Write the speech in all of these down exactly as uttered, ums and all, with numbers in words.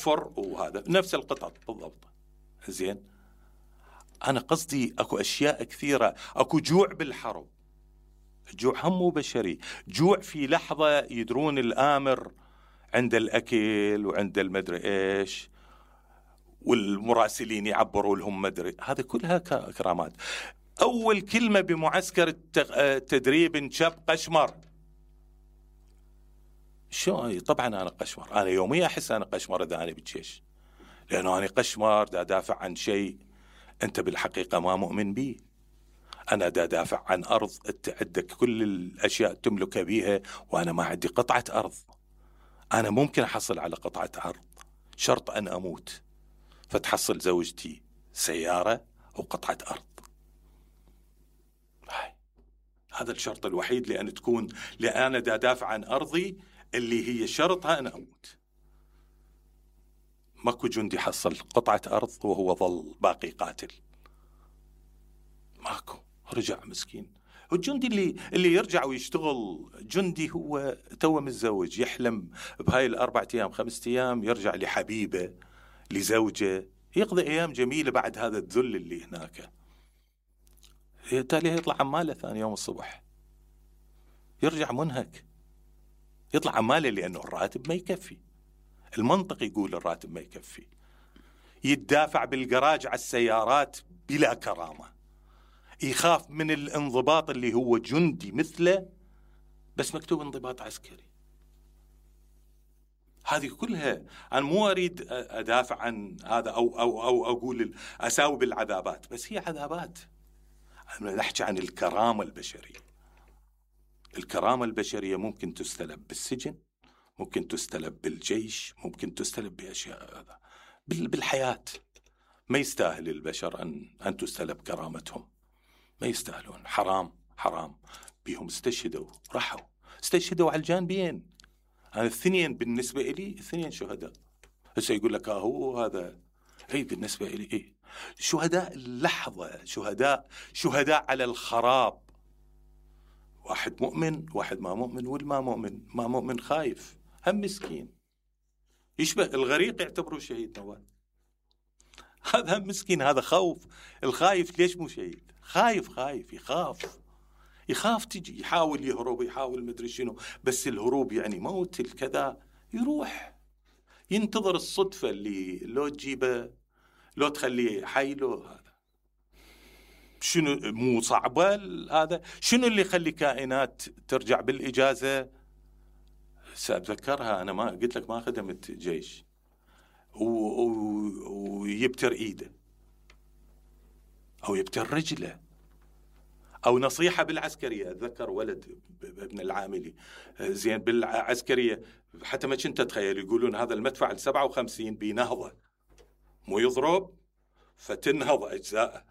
تحفر وهذا نفس القطط بالضبط. زين أنا قصدي أكو أشياء كثيرة، أكو جوع بالحرب، جوع هم مو بشري، جوع في لحظة يدرون الآمر عند الأكل وعند المدري إيش، والمراسلين يعبروا لهم مدري، هذا كلها كرامات. أول كلمة بمعسكر التدريب انشب قشمر. شو طبعا أنا قشمر، أنا يوميا أحس أنا قشمر إذا أنا بالجيش، لأنه أنا قشمر دا دافع عن شيء أنت بالحقيقة ما مؤمن به. أنا دا دافع عن أرض أنت عندك كل الأشياء تملكها بيها وأنا ما عندي قطعة أرض. أنا ممكن أحصل على قطعة أرض، شرط أن أموت فتحصل زوجتي سيارة وقطعة أرض. هاي. هذا الشرط الوحيد لأن تكون، لأن أنا دا دافع عن أرضي اللي هي شرطها أن أموت. ماكو جندي حصل قطعة أرض وهو ظل باقي قاتل، ماكو، رجع مسكين. والجندي اللي اللي يرجع ويشتغل جندي هو توه متزوج، يحلم بهاي الأربعة أيام خمسة أيام يرجع لحبيبه لزوجه، يقضي أيام جميلة بعد هذا الذل اللي هناك. تالي يطلع عماله ثاني يوم الصبح، يرجع منهك، يطلع عماله لأنه الراتب ما يكفي. المنطق يقول الراتب ما يكفي، يتدافع بالجراج على السيارات بلا كرامة، يخاف من الانضباط اللي هو جندي مثله بس مكتوب انضباط عسكري. هذه كلها أنا مو أريد أدافع عن هذا أو أو أو أقول أساوي بالعذابات، بس هي عذابات. أنا نحكي عن الكرامة البشرية. الكرامة البشرية ممكن تستلب بالسجن، ممكن تستلب بالجيش، ممكن تستلب بأشياء هذا بالحياة. ما يستاهل البشر أن أن تستلب كرامتهم، ما يستاهلون. حرام حرام. بيهم استشهدوا، راحوا استشهدوا على الجانبين. أنا الثنين بالنسبة إلي الثنين شهداء. هسه يقول لك هو هذا، هي بالنسبة إلي إيه شهداء اللحظة، شهداء شهداء على الخراب. واحد مؤمن واحد ما مؤمن، والما مؤمن ما مؤمن خايف هم مسكين، يشبه الغريق يعتبره شهيد نوال. هذا هم مسكين، هذا خوف. الخايف ليش مو شهيد؟ خايف خايف يخاف يخاف تجي، يحاول يهرب، يحاول مدري شنو، بس الهروب يعني موت الكذا، يروح ينتظر الصدفة اللي لو تجيبه لو تخليه حي له. هذا شنو مو صعبة هذا؟ شنو اللي يخلي كائنات ترجع بالإجازة؟ سأتذكرها أنا، ما قلت لك ما خدمت جيش، ويبتر إيده أو يبتر رجله، أو نصيحة بالعسكرية. أتذكر ولد ابن العاملي زين بالعسكرية، حتى ما كنت أتخيل، يقولون هذا المدفع السبعة وخمسين بينهضه، مو يضرب فتنهض أجزاءه.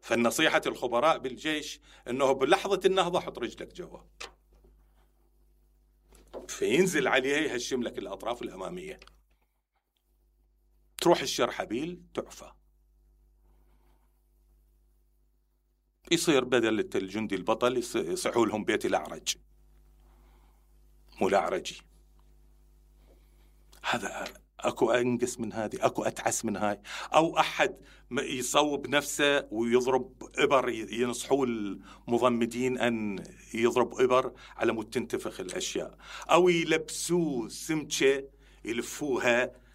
فالنصيحة الخبراء بالجيش أنه بلحظة النهضة حط رجلك جوا، فينزل عليه يهشم لك الأطراف الأمامية، تروح الشرحبيل تعفى. يصير بدل الجندي البطل يصحوا لهم بيت الأعرج، مو الأعرجي. هذا أكو أنقص من هذه، أكو أتعس من هاي. أو أحد يصوب نفسه ويضرب إبر، ينصحوا المضمدين أن يضرب إبر على مود تنتفخ الأشياء، أو يلبسوه سمكة يلفوها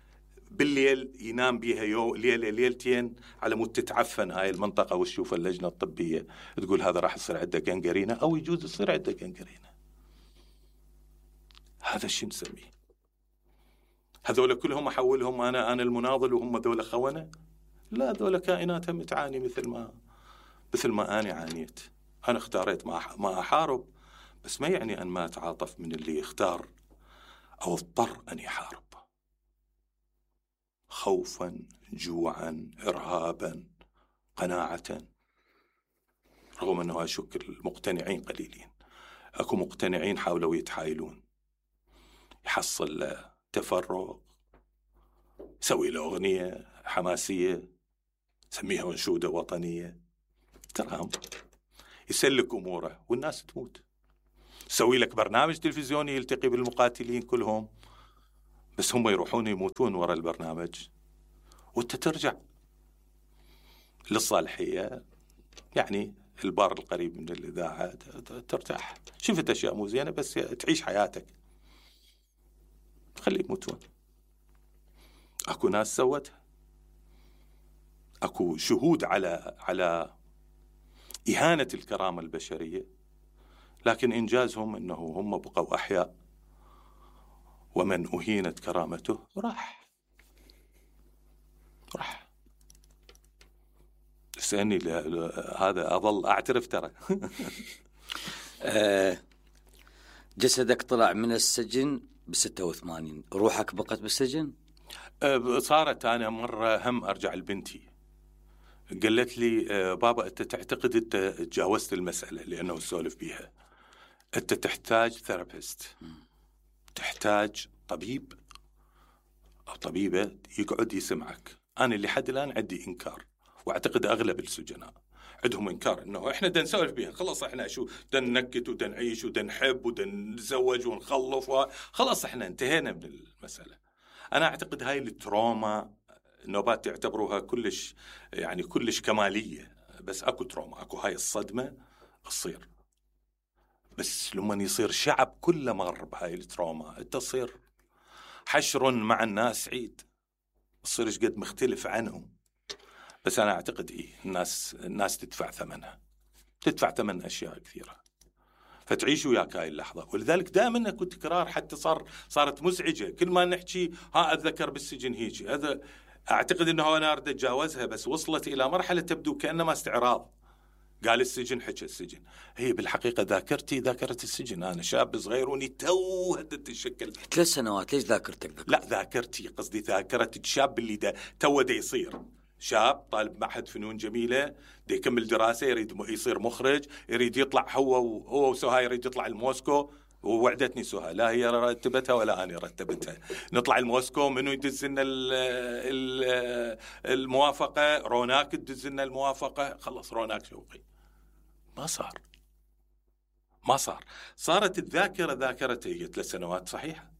بالليل ينام بيها يوم ليلة ليلتين على مود تتعفن هاي المنطقة، وتشوف اللجنة الطبية تقول هذا راح يصير عنده جنجرينة، أو يجوز يصير عنده جنجرينة. هذا الشيء نسميه. هذول كلهم أحولهم أنا أنا المناضل وهم ذول خونة؟ لا، ذول كائناتهم تعاني مثل ما مثل ما أنا عانيت. أنا اختاريت ما ما أحارب، بس ما يعني أن ما أتعاطف من اللي يختار أو اضطر أن يحارب، خوفا، جوعا، إرهابا، قناعة. رغم أنه أشك المقتنعين قليلين، أكو مقتنعين حاولوا يتحايلون، يحصل تفرغ، يسوي له أغنية حماسية سميها أنشودة وطنية، ترام يسلك أموره والناس تموت. يسوي لك برنامج تلفزيوني يلتقي بالمقاتلين كلهم، بس هم يروحون يموتون وراء البرنامج وانت ترجع للصالحية، يعني البار القريب من الإذاعة، ترتاح. شفت أشياء مو زينة بس تعيش حياتك، خلي يموتون. أكو ناس سوتها، أكو شهود على على إهانة الكرامة البشرية، لكن إنجازهم أنه هم بقوا أحياء، ومن أهينت كرامته راح راح سأني هذا أظل أعترف ترى. جسدك طلع من السجن بستة وثمانين، روحك بقت بالسجن؟ صارت. أنا مرة هم أرجع لبنتي، قالت لي بابا أنت تعتقد أنت تجاوزت المسألة لأنه سولف بيها، أنت تحتاج ثيرابيست، تحتاج طبيب أو طبيبة يقعد يسمعك. أنا اللي حد الآن عندي إنكار، واعتقد اغلب السجناء عندهم انكار انه احنا بدنا نسولف بيها، خلاص احنا شو بدنا ننكت وبدنا نعيش وبدنا نحب وبدنا نتزوج ونخلف، خلاص احنا انتهينا من المساله. انا اعتقد هاي التروما النوبات تعتبروها كلش يعني كلش كماليه، بس اكو تروما، اكو هاي الصدمه تصير، بس لما يصير شعب كله مر بهاي التروما انت تصير حشر مع الناس عيد، تصير ايش قد مختلف عنهم. بس أنا أعتقد إيه الناس الناس تدفع ثمنها، تدفع ثمن أشياء كثيرة، فتعيش وياك هاي اللحظة. ولذلك دائما أكو تكرار، حتى صار صارت مزعجة كل ما نحكي ها أتذكر بالسجن هيك. هذا أعتقد أنه أنا أريد أتجاوزها، بس وصلت إلى مرحلة تبدو كأنما استعراض. قال السجن حكى السجن، هي بالحقيقة ذاكرتي ذاكرة السجن. أنا شاب صغير وني تو تتشكل ثلاث سنوات. ليش ذاكرتك ذاكرتك؟ لا ذاكرتي قصدي ذاكرة الشاب اللي دا تو دا يصير شاب طالب معهد فنون جميلة، دي يكمل دراسة، يريد يصير مخرج، يريد يطلع هو هو وسهى يريد يطلع الموسكو. ووعدتني سهى، لا هي رتبتها ولا أنا رتبتها، نطلع الموسكو، منو يدز لنا الموافقة؟ روناك تدز لنا الموافقة. خلص روناك شوقي ما صار ما صار صارت الذاكرة ذاكرته هي ثلاث سنوات صحيحة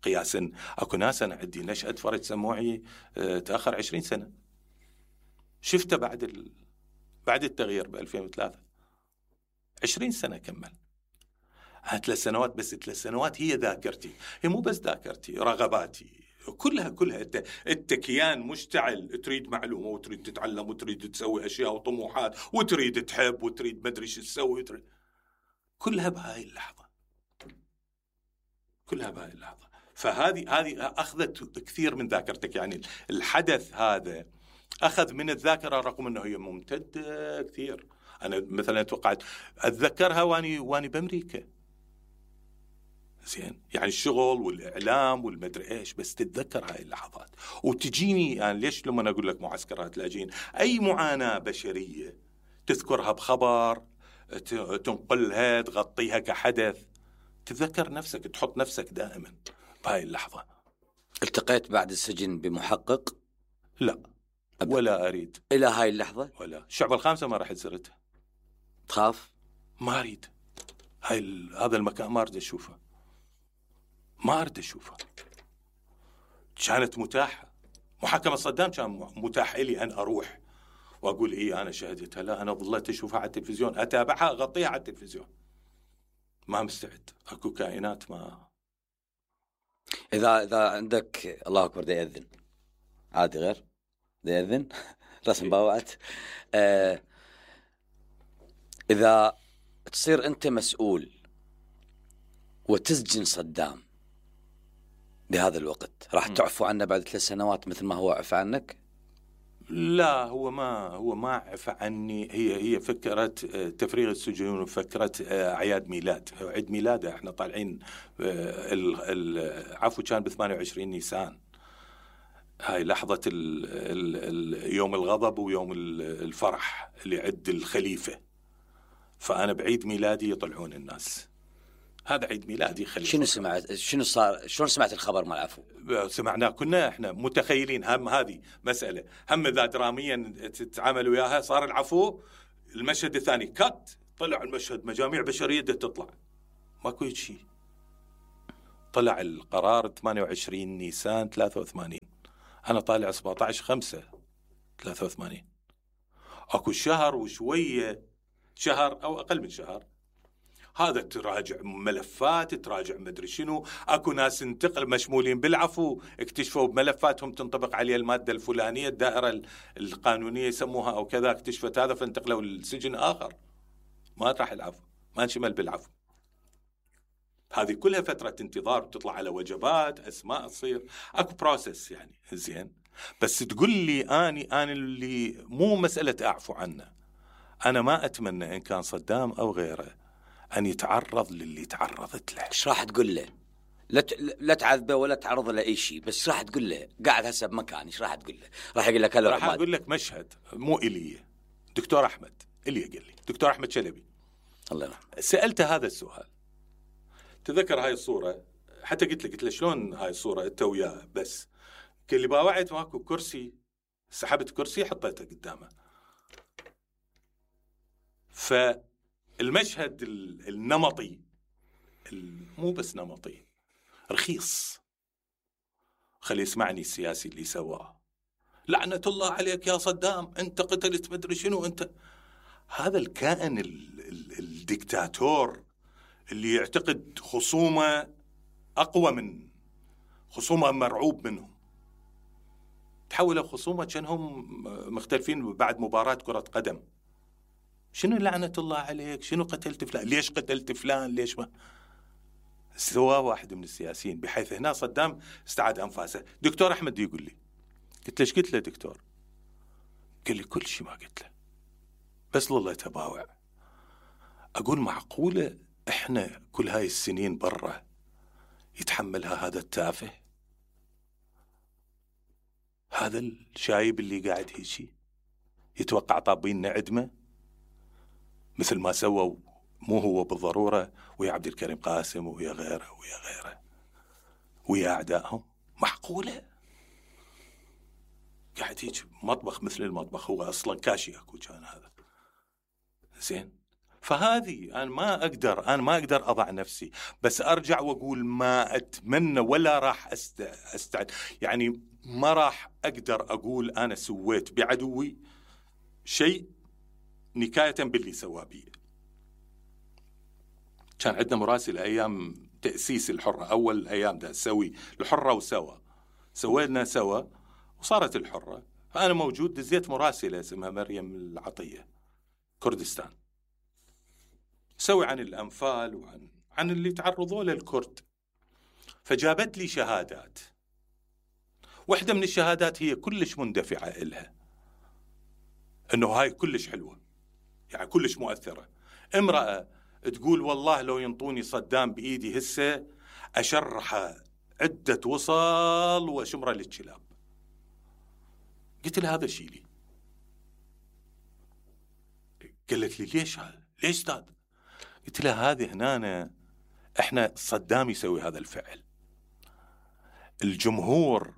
قياسا. أكو ناس أنا عندي نشأة فرج سموعي تأخر عشرين سنة، شفته بعد ال... بعد التغيير ب ألفين وثلاثة، عشرين سنة كمل. ثلاث سنوات بس، ثلاث سنوات هي ذاكرتي، هي مو بس ذاكرتي، رغباتي كلها كلها. انت انت كيان مشتعل، تريد معلومة وتريد تتعلم وتريد تسوي أشياء وطموحات وتريد تحب وتريد ما أدري شو تسوي، وتريد... كلها بهاي اللحظة، كلها بهاي اللحظة. فهذه هذه أخذت كثير من ذاكرتك. يعني الحدث هذا أخذ من الذاكرة رغم أنه هي ممتدة كثير. أنا مثلا توقعت أتذكرها واني واني بأمريكا، زين، يعني الشغل والإعلام والمدري إيش، بس تتذكر هاي اللحظات. وتجيني يعني ليش لما أقول لك معسكرات لاجئين، أي معاناة بشرية تذكرها بخبر، تنقلها، تغطيها كحدث، تتذكر نفسك، تحط نفسك دائما بهاي اللحظة. التقيت بعد السجن بمحقق؟ لا أبداً. ولا أريد إلى هاي اللحظة. ولا الشعب الخامسة ما راح زرتها. تخاف؟ ما أريد هاي ال... هذا المكان ما أريد أشوفه، ما أريد أشوفه. كانت متاحة، محاكمة صدام كان متاح لي أن أروح وأقول إيه أنا شهدتها. لا، أنا ظلت أشوفها على التلفزيون، أتابعها، أغطيها على التلفزيون. ما مستعد. أكو كائنات ما. إذا إذا عندك الله أكبر دا يأذن عادي، غير دا يأذن رسم باوعت. آه إذا تصير أنت مسؤول وتسجن صدام بهذا الوقت، راح تعفو عنه بعد ثلاث سنوات مثل ما هو عفى عنك؟ لا، هو ما هو ما عفى عني. هي هي فكرة تفريغ السجون وفكرة أعياد ميلاد. عيد ميلاده احنا طالعين، العفو كان ب ثمانية وعشرين نيسان، هاي لحظة ال ال يوم الغضب ويوم الفرح اللي عد الخليفة. فأنا بعيد ميلادي يطلعون الناس، هذا عيد ميلادي خليفة. شنو سمعت؟ شنو صار؟ شلون سمعت الخبر مع العفو؟ سمعناه، كنا احنا متخيلين هم هذه مسألة، هم إذا دراميا تتعامل وياها. صار العفو، المشهد الثاني كات، طلع المشهد مجاميع بشرية تطلع، ماكو شيء. طلع القرار ثمانية وعشرين نيسان ثلاثة وثمانين، أنا طالع سبعة عشر خمسة ثلاثة وثمانين، أكو شهر وشوية، شهر أو أقل من شهر، هذا تراجع ملفات، تراجع مدري شنو، أكو ناس انتقل مشمولين بالعفو اكتشفوا بملفاتهم تنطبق عليها المادة الفلانية، الدائرة القانونية يسموها أو كذا، اكتشفت هذا فانتقلوا للسجن آخر، ما راح العفو، ما انشمل بالعفو. هذه كلها فترة انتظار، بتطلع على وجبات، أسماء تصير، أكو بروسس يعني. زين، بس تقول لي أني أنا اللي مو مسألة أعفو عنه، أنا ما أتمنى إن كان صدام أو غيره أن يتعرض للي تعرضت له. إيش راح تقول له؟ لا لا تعذبه ولا تعرض له أي شيء، بس راح تقول له قاعد هسه بمكان، إيش راح تقول له؟ راح يقول لك هلا، راح أقول لك مشهد مو إلي، دكتور أحمد إلي قال لي، دكتور أحمد شلبي، الله يرحمه، سألته هذا السؤال، تذكر هاي الصورة، حتى قلت له قلت له شلون هاي الصورة أنت وياه؟ بس قال لي باوعت ماكو كرسي، سحبت كرسي حطيته قدامه. فالمشهد النمطي، مو بس نمطي، رخيص. خلي يسمعني السياسي اللي سواه، لعنة الله عليك يا صدام، أنت قتلت مدري شنو، أنت هذا الكائن الدكتاتور اللي يعتقد خصومه أقوى من خصومه، مرعوب منهم، تحولوا خصومه كأنهم مختلفين بعد مباراة كرة قدم. شنو لعنة الله عليك، شنو قتلت فلان، ليش قتلت فلان، ليش ما سواه واحد من السياسيين، بحيث هنا صدام استعاد أنفاسه. دكتور أحمد يقول لي، قلت له ايش قلت له دكتور؟ قال لي كل شيء ما قلت له، بس لله تباوع. أقول معقولة إحنا كل هاي السنين برا يتحملها هذا التافه، هذا الشايب اللي قاعد هيجي يتوقع طابين عدمه مثل ما سووا، مو هو بالضرورة، ويا عبد الكريم قاسم ويا غيره ويا غيره ويا أعدائهم؟ معقولة قاعد هيك مطبخ مثل المطبخ، هو أصلا كاشي أكو كان هذا. زين، فهذه أنا ما أقدر أنا ما أقدر أضع نفسي، بس أرجع وأقول ما أتمنى ولا راح أست... أستعد يعني ما راح أقدر أقول أنا سويت بعدوي شيء نكاية باللي سواه بي. كان عندنا مراسل أيام تأسيس الحرة، أول أيام ده سوي الحرة وسوا سوينا سوا وصارت الحرة، فأنا موجود، دزيت مراسلة اسمها مريم العطية كردستان، سوي عن الأنفال وعن عن اللي تعرضوا له الكرد، فجابت لي شهادات. واحدة من الشهادات هي كلش مندفعة إلها، إنه هاي كلش حلوة، يعني كلش مؤثرة. امرأة تقول والله لو ينطوني صدام بإيدي هسه أشرحه عدة وصل وشمرة للكلاب. قلت لها هذا شيلي. قالت لي ليش هذا؟ ليش استاذ؟ قلت لها هذه هنا احنا صدام يسوي هذا الفعل، الجمهور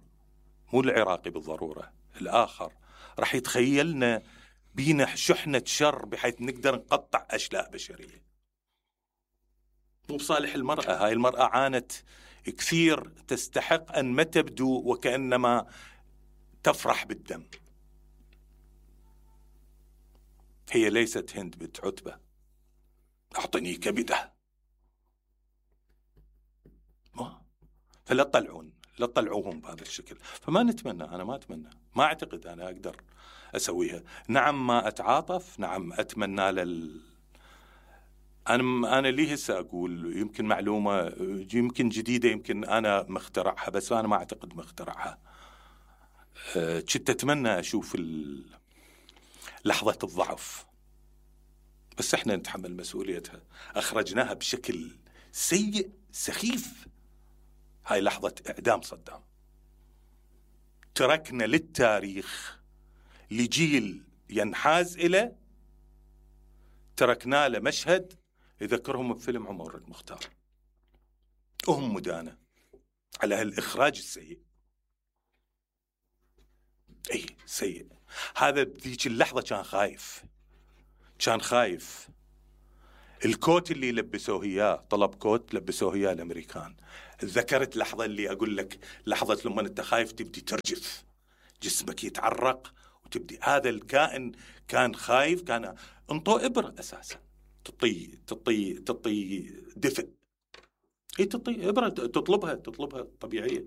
مو العراقي بالضرورة، الآخر راح يتخيلنا بينا شحنة شر بحيث نقدر نقطع أشلاء بشرية. مو بصالح المرأة، هاي المرأة عانت كثير، تستحق أن ما تبدو وكأنما تفرح بالدم. هي ليست هند بنت عتبة أعطني كبدة، ما فلا تطلعون لا تطلعوهم بهذا الشكل. فما نتمنى، أنا ما أتمنى، ما أعتقد أنا أقدر أسويها. نعم ما أتعاطف، نعم أتمنى لل أنا أنا ليه هسه أقول يمكن معلومة يمكن جديدة، يمكن أنا مخترعها، بس أنا ما أعتقد مخترعها. كنت أتمنى أشوف لحظة الضعف، بس إحنا نتحمل مسؤوليتها. أخرجناها بشكل سيء سخيف، هاي لحظة إعدام صدام. تركنا للتاريخ لجيل ينحاز إليه، تركنا له مشهد يذكرهم بفيلم عمر المختار، وهم مدانة على هالإخراج السيء. أي سيء. هذا بذيك اللحظة كان خايف، كان خايف. الكوت اللي لبسوه إياه، طلب كوت لبسوه إياه الأمريكان، ذكرت لحظة اللي أقول لك لحظة لما أنت خايف تبدي ترجف، جسمك يتعرق وتبدي. هذا الكائن كان خايف، كان انطو إبرة أساسا تطي تطي تطي دفء، هي تطي إبرة تطلبها تطلبها طبيعية.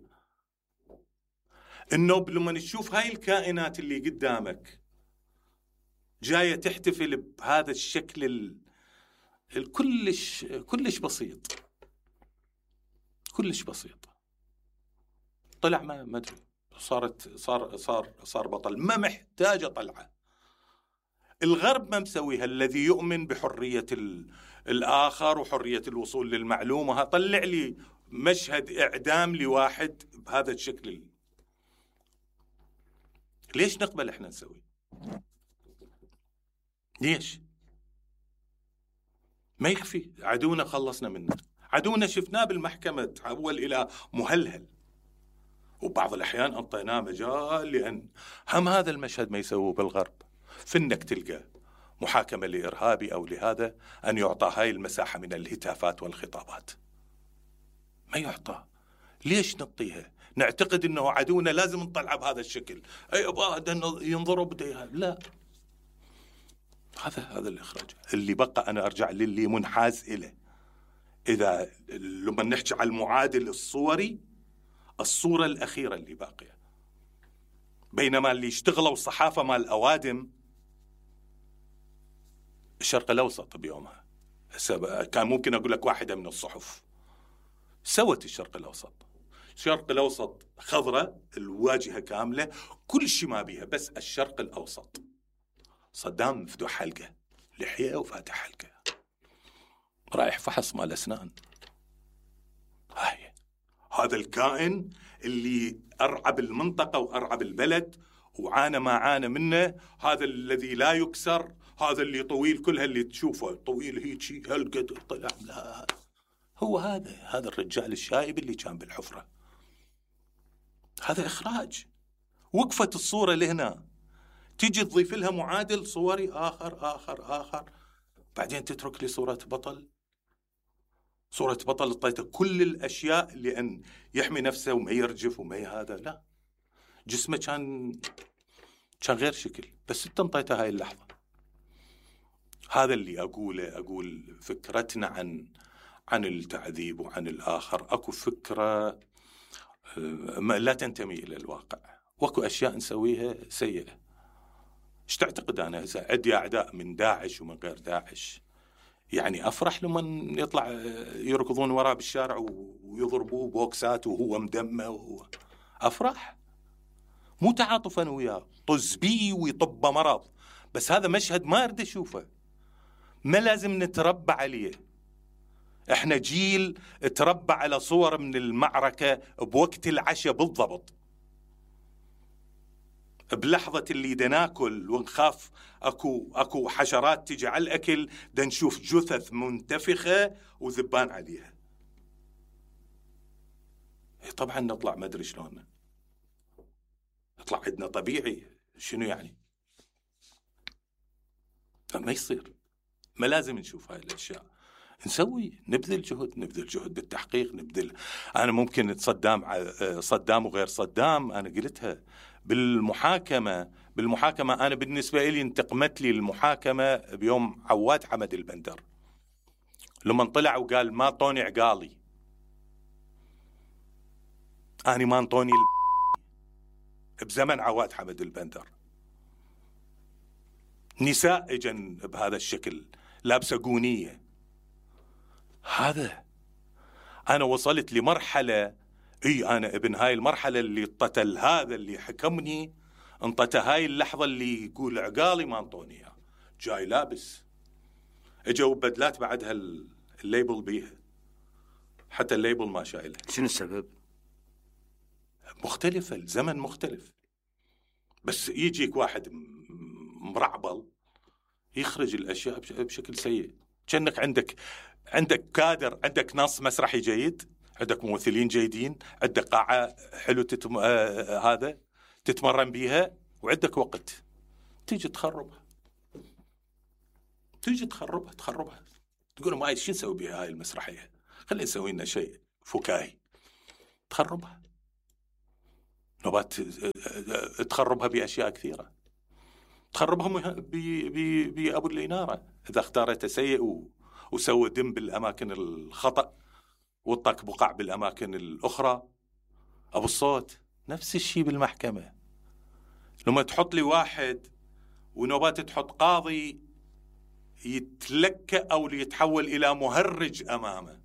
النوب لما نشوف هاي الكائنات اللي قدامك جاية تحتفل بهذا الشكل ال... الكلش كلش بسيط، كلش بسيط، طلع ما ما ادري صارت صار صار صار بطل، ما محتاجه طلعه. الغرب ما مسويها، الذي يؤمن بحريه ال... الاخر وحريه الوصول للمعلومه، طلع لي مشهد اعدام لواحد بهذا الشكل. ليش نقبل احنا نسوي؟ ليش؟ ما يكفي عدونا خلصنا منه، عدونا شفناه بالمحكمة تحول إلى مهلهل، وبعض الأحيان أعطيناه مجال لأن هم هذا المشهد ما يسووه بالغرب، في إنك تلقى محاكمة لإرهابي أو لهذا أن يعطى هاي المساحة من الهتافات والخطابات، ما يعطى. ليش نعطيها؟ نعتقد أنه عدونا لازم نطلعه بهذا الشكل، أي أبا ينضرب لا. هذا هذا الإخراج اللي بقى. أنا أرجع للي منحاز إليه. إذا لما نحكي على المعادل الصوري، الصورة الأخيرة اللي باقية، بينما اللي اشتغلوا صحافة مال الأوادم الشرق الأوسط بيومها، كان ممكن أقول لك واحدة من الصحف سوت الشرق الأوسط. الشرق الأوسط خضرة الواجهة كاملة، كل شيء ما بيها، بس الشرق الأوسط. صدام مفتوح حلقة لحية وفاتح حلقة، رايح فحص مال أسنان. هاي هذا الكائن اللي أرعب المنطقة وأرعب البلد وعانى ما عانى منه، هذا الذي لا يكسر، هذا اللي طويل، كل اللي تشوفه طويل هيجي هالقد طلع. لا، هو هذا هذا الرجال الشايب اللي كان بالحفرة. هذا إخراج. وقفت الصورة لهنا، تيجي تضيف لها معادل صوري آخر آخر آخر، بعدين تترك لي صورة بطل. صورة بطل اعطيته كل الأشياء لأن يحمي نفسه وما يرجف وما هذا، لا، جسمه كان كان غير شكل، بس انت انطيته هاي اللحظة. هذا اللي أقوله. أقول فكرتنا عن عن التعذيب وعن الآخر، أكو فكرة لا تنتمي إلى الواقع، واكو أشياء نسويها سيئة. ايش تعتقد أنا إذا عندي أعداء من داعش ومن غير داعش، يعني أفرح لما يطلع يركضون وراه بالشارع ويضربوه بوكسات وهو مدمه وهو أفرح؟ مو تعاطفا وياه، طز بيه ويطب مرض، بس هذا مشهد ما أريد أشوفه، ما لازم نتربى عليه. احنا جيل تربى على صور من المعركة بوقت العشاء بالضبط، بلحظة اللي دا ناكل ونخاف اكو اكو حشرات تجي على الاكل، دا نشوف جثث منتفخة وذبان عليها. طبعا نطلع ما ادري شلون نطلع عندنا طبيعي، شنو يعني؟ ما يصير، ما لازم نشوف هاي الاشياء. نسوي نبذل جهد نبذل جهد بالتحقيق، نبذل. انا ممكن صدام صدام وغير صدام، انا قلتها بالمحاكمة بالمحاكمة أنا بالنسبة لي انتقمت لي المحاكمة بيوم عواد حمد البندر لما طلع وقال ما طوني عقالي، أنا ما انطوني بزمن عواد حمد البندر. نساء اجن بهذا الشكل لابسة قونية. هذا أنا وصلت لمرحلة، اي انا ابن هاي المرحله اللي اطتل هذا اللي حكمني، انطت هاي اللحظه اللي يقول عقالي ما انطوني اياه، جاي لابس اجوا بدلات بعدها الليبل بيها، حتى الليبل ما شايله. شنو السبب؟ مختلفه، الزمن مختلف، بس يجيك واحد مرعبل يخرج الاشياء بشكل سيء. كأنك عندك عندك كادر، عندك نص مسرحي جيد، عندك ممثلين جيدين، عندك قاعة حلو تتم... آه هذا تتمرن بيها، وعندك وقت تيجي تخربها تيجي تخربها تخربها تقول ما شو نسوي بها هاي المسرحية، خلينا نسوي لنا شيء فكاهي. تخربها، نوبات تخربها بأشياء كثيرة، تخربها بأبو الإنارة إذا اختارته سيء وسوى دم بالأماكن الخطأ وطك بقع بالأماكن الأخرى. أبو الصوت نفس الشيء بالمحكمة، لما تحط لي واحد ونوبات تحط قاضي يتلكأ أو يتحول إلى مهرج أمامه،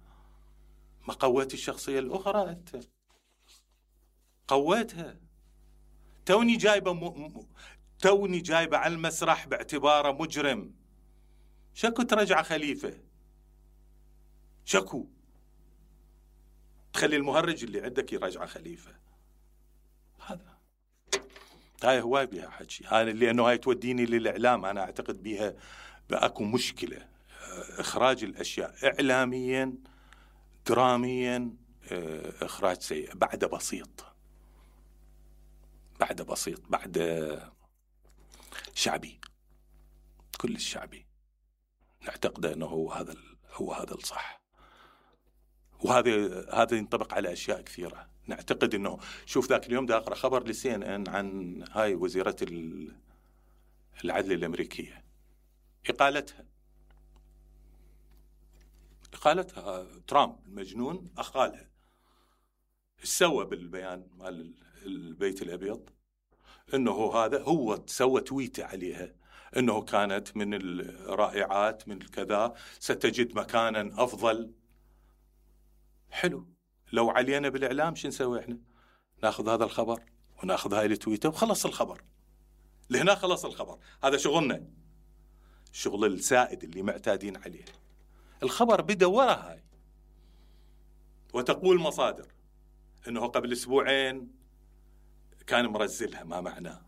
ما قويت الشخصية الأخرى؟ أنت قويتها. توني جايبة م... توني جايبة على المسرح باعتباره مجرم، شكو ترجع خليفة، شكو تخلي المهرج اللي عندك يرجع خليفة. هذا هاي هواي بها حكي، هاي لأنه هاي توديني للإعلام. أنا أعتقد بها بأكو مشكلة إخراج الأشياء إعلاميا دراميا، إخراج سيء بعد بسيط، بعد بسيط بعد شعبي، كل الشعبي نعتقد أنه هو هذا هو هذا الصح. وهذا هذا ينطبق على أشياء كثيرة. نعتقد أنه شوف ذاك اليوم دا أقرأ خبر لسي إن إن عن هاي وزيرة العدل الأمريكية، إقالتها إقالتها ترامب المجنون أقالها. سوى بالبيان مال البيت الأبيض أنه هذا هو سوى تويته عليها أنه كانت من الرائعات من الكذا، ستجد مكانا أفضل. حلو، لو علينا بالإعلام شو نسوي إحنا؟ ناخذ هذا الخبر وناخذ هاي التويته وخلص الخبر، لهنا خلص الخبر. هذا شغلنا، شغل السائد اللي معتادين عليه. الخبر بدأ ورا هاي، وتقول مصادر أنه قبل أسبوعين كان مرزلها، ما معناه.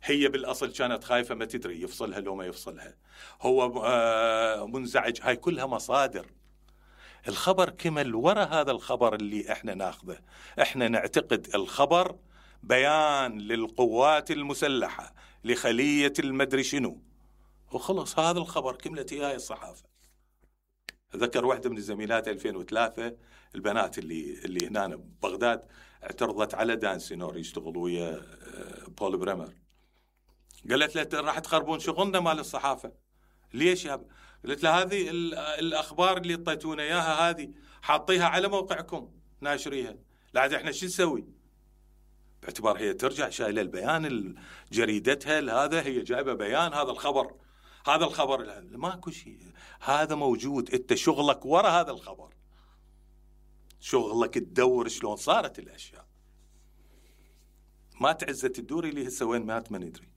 هي بالأصل كانت خايفة ما تدري يفصلها لو ما يفصلها، هو منزعج. هاي كلها مصادر. الخبر كمل ورا هذا الخبر اللي احنا ناخذه. احنا نعتقد الخبر بيان للقوات المسلحة لخلية المدري شنو، وخلص هذا الخبر كملت إياه الصحافة. أذكر واحدة من الزميلات ألفين وثلاثة البنات اللي اللي هنا ببغداد اعترضت على دان سينور يشتغل ويا بول بريمر، قالت له راح تخربون شغلنا مال الصحافة. ليش يا ب... قلت له هذه الأخبار اللي اعطيتونا إياها هذه حاطيها على موقعكم ناشريها، لا عاد احنا شو نسوي؟ باعتبار هي ترجع شايله البيان جريدتها هذا، هي جايبه بيان هذا الخبر، هذا الخبر ماكو شيء، هذا موجود. انت شغلك ورا هذا الخبر، شغلك تدور شلون صارت الاشياء. ما تعزة الدوري اللي هسه وين مات ما ندري.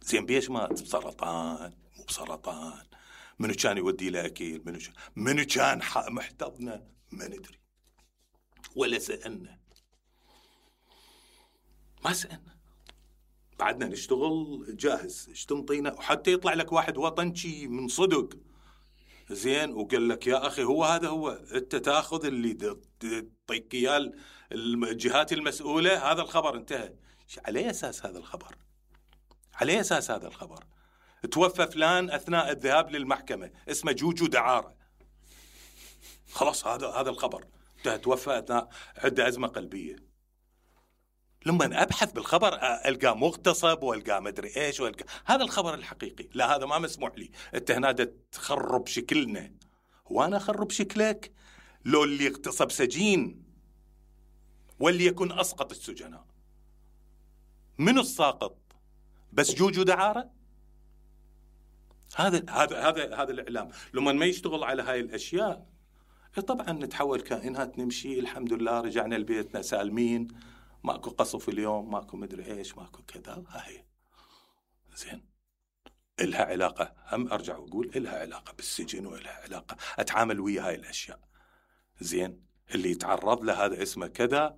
زين بيش مات؟ بسرطان مو بسرطان؟ منو كان يودي له اكيل؟ منو كان منو كان محتضنه؟ ما ندري ولا سألنا، ما سألنا. بعدنا نشتغل جاهز، ايش تنطينا؟ وحتى يطلع لك واحد وطنشي من صدق زين وقال لك يا اخي هو هذا هو، انت تاخذ اللي تعطيك اياه الجهات المسؤوله، هذا الخبر انتهى. على اساس هذا الخبر؟ على اساس هذا الخبر توفى فلان اثناء الذهاب للمحكمه اسمه جوجو دعاره، خلاص هذا هذا الخبر انتهى. توفى اثناء عنده ازمه قلبيه. لما ابحث بالخبر القى مغتصب والقى مدري ايش والقى هذا الخبر الحقيقي. لا هذا ما مسموح لي، انت هنا تخرب شكلنا. وانا اخرب شكلك؟ لو اللي اغتصب سجين واللي يكون اسقط السجناء، منو الساقط؟ بس جوجو دعاره؟ هذا هذا هذا هذا الاعلام لما ما يشتغل على هاي الاشياء طبعا نتحول كائنات نمشي. الحمد لله رجعنا لبيتنا سالمين، ماكو قصف اليوم، ماكو مدري ايش، ماكو كذا. هاي زين إلها علاقة، هم ارجع واقول إلها علاقة بالسجن وإلها علاقة اتعامل ويا هاي الاشياء. زين اللي يتعرض له هذا اسمه كذا،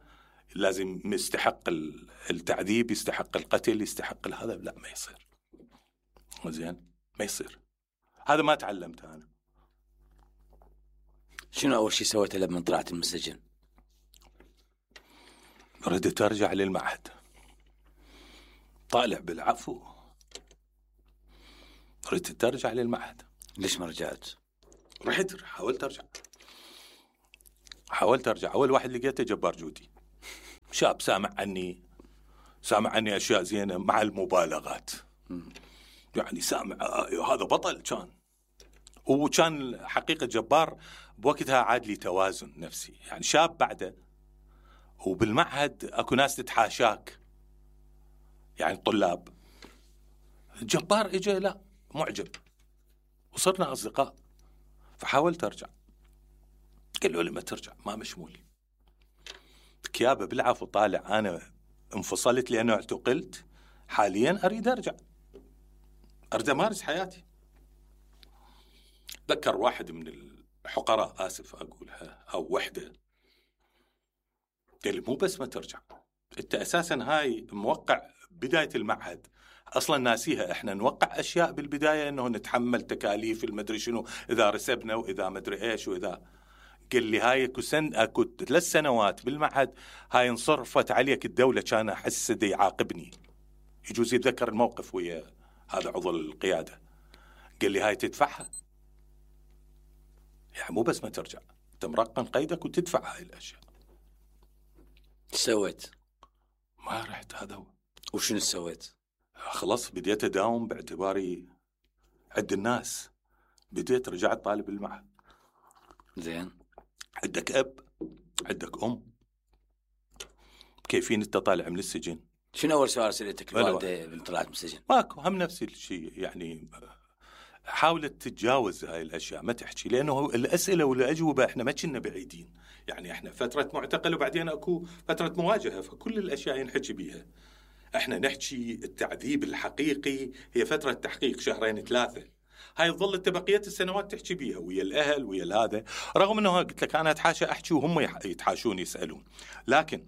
لازم يستحق التعذيب، يستحق القتل، يستحق هذا. لا ما يصير. زين ما يصير. هذا ما تعلمته انا. شنو اول شيء سويته لما طلعت من السجن؟ ردت ارجع للمعهد، طالع بالعفو، ردت ارجع للمعهد. ليش ما رجعت؟ رحت حاولت ارجع، حاولت ارجع. اول واحد لقيته جبار جودي، شاب سامع عني سامع عني اشياء زينه مع المبالغات. يعني سامع آه هذا بطل كان، وكان حقيقه جبار بوقتها. عاد لي توازن نفسي، يعني شاب بعده، وبالمعهد اكو ناس تتحاشاك، يعني الطلاب. جبار اجى لا معجب، وصرنا اصدقاء. فحاولت ارجع، قالوا لي ما ترجع، ما مشمول. كيابه بالعفو طالع، انا انفصلت لانه اعتقلت، حاليا اريد ارجع، اريد امارس حياتي. ذكر واحد من الحقراء، اسف اقولها، او وحده، قال لي مو بس ما ترجع، انت اساسا هاي موقع بدايه المعهد اصلا ناسيها. احنا نوقع اشياء بالبدايه انه نتحمل تكاليف المدري شنو اذا رسبنا واذا مدري ايش واذا. قال لي هاي اكو سن اكو ثلاث سنوات بالمعهد هاي انصرفت عليك الدوله، كان احس دي يعاقبني. يجوز يتذكر الموقف ويا هذا عضو القياده. قال لي هاي تدفعها، يعني مو بس ما ترجع، انت مرقم قيدك وتدفع هاي الاشياء. سويت؟ ما رحت. هذا هو. وشنو سويت؟ خلاص بديت اداوم باعتباري عند الناس، بديت رجعت طالب المعهد. زين. عندك اب، عندك ام، كيفين انت طالع من السجن؟ شنو اول سؤال سالتك الوالده من طلعت من السجن؟ ماكو، هم نفس الشيء يعني. حاولت تتجاوز هاي الاشياء، ما تحكي، لانه الاسئله والاجوبه احنا ما كنا بعيدين. يعني احنا فتره معتقل وبعدين اكو فتره مواجهه، فكل الاشياء ينحكي بيها. احنا نحكي التعذيب الحقيقي هي فتره تحقيق شهرين ثلاثه، هاي تظل انت بقيه السنوات تحكي بيها ويا الاهل ويا هذا. رغم انه قلت لك انا اتحاشى احكي وهم يتحاشون يسالون، لكن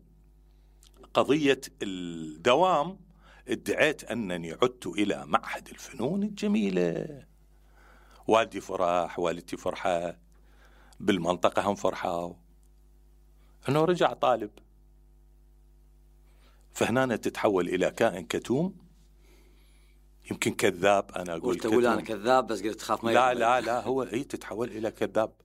قضيه الدوام ادعيت انني عدت الى معهد الفنون الجميله. والدي فرح، والدتي فرحة، بالمنطقة هم فرحوا انه رجع طالب. فهنا تتحول الى كائن كتوم، يمكن كذاب. انا اقول تقول انا كذاب بس قلت خاف ما لا لا لا هو اي تتحول الى كذاب،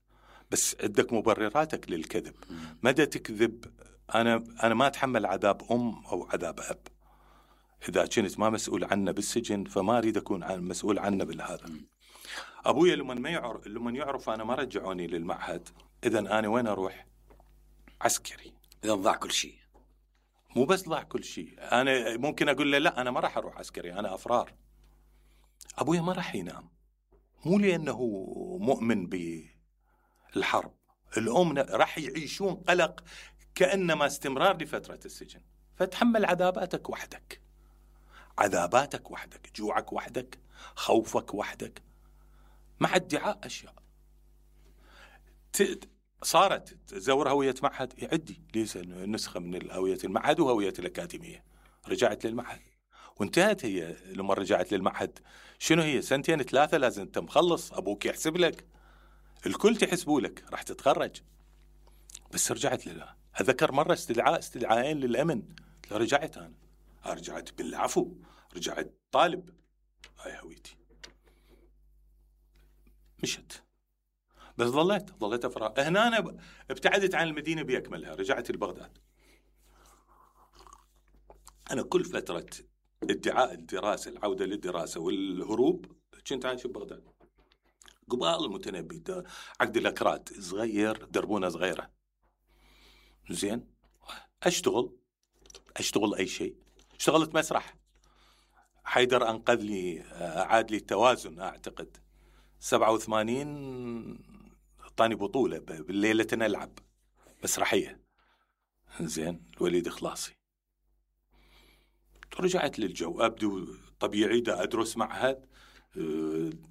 بس عندك مبرراتك للكذب. مدى تكذب؟ انا انا ما اتحمل عذاب ام او عذاب اب. اذا كنت ما مسؤول عنه بالسجن فما اريد اكون عن مسؤول عنه بالهذا. ابويا لما ما يعرف لما يعرف انا ما رجعوني للمعهد، اذا انا وين اروح؟ عسكري. اذا ضاع كل شيء. مو بس ضاع كل شيء، انا ممكن اقول له لا انا ما راح اروح عسكري، انا افرار. ابويا ما راح ينام، مو لانه مؤمن بالحرب. الام راح يعيشون قلق كانما استمرار لفتره السجن. فتحمل عذاباتك وحدك، عذاباتك وحدك، جوعك وحدك، خوفك وحدك، مع ادعاء اشياء. صارت تزور هويه معهد، يعدي ليس نسخه من هويه المعهد وهويه الاكاديميه. رجعت للمعهد وانتهت. هي لما رجعت للمعهد شنو هي؟ سنتين ثلاثه لازم انت مخلص، ابوك يحسب لك، الكل تحسبوا لك، راح تتخرج. بس رجعت لله. اذكر مره استدعاء استدعاءين للامن، رجعت انا رجعت بالعفو، رجعت طالب. هاي هويتي. مشت، بس ظليت ظليت افرار. هنا انا ابتعدت عن المدينه باكملها، رجعت لبغداد. انا كل فتره ادعاء الدراسه، العوده للدراسه والهروب، كنت عايش ببغداد. قبال المتنبي عقد الاكراد صغير، دربونه صغيره. زين، اشتغل اشتغل اي شيء. اشتغلت مسرح، حيدر انقذ لي، اعاد لي التوازن. اعتقد سبعة وثمانين طاني بطولة بالليلة نلعب مسرحية. زين، الوليد خلاصي. رجعت للجو، أبدو طبيعي، دا أدرس معهد،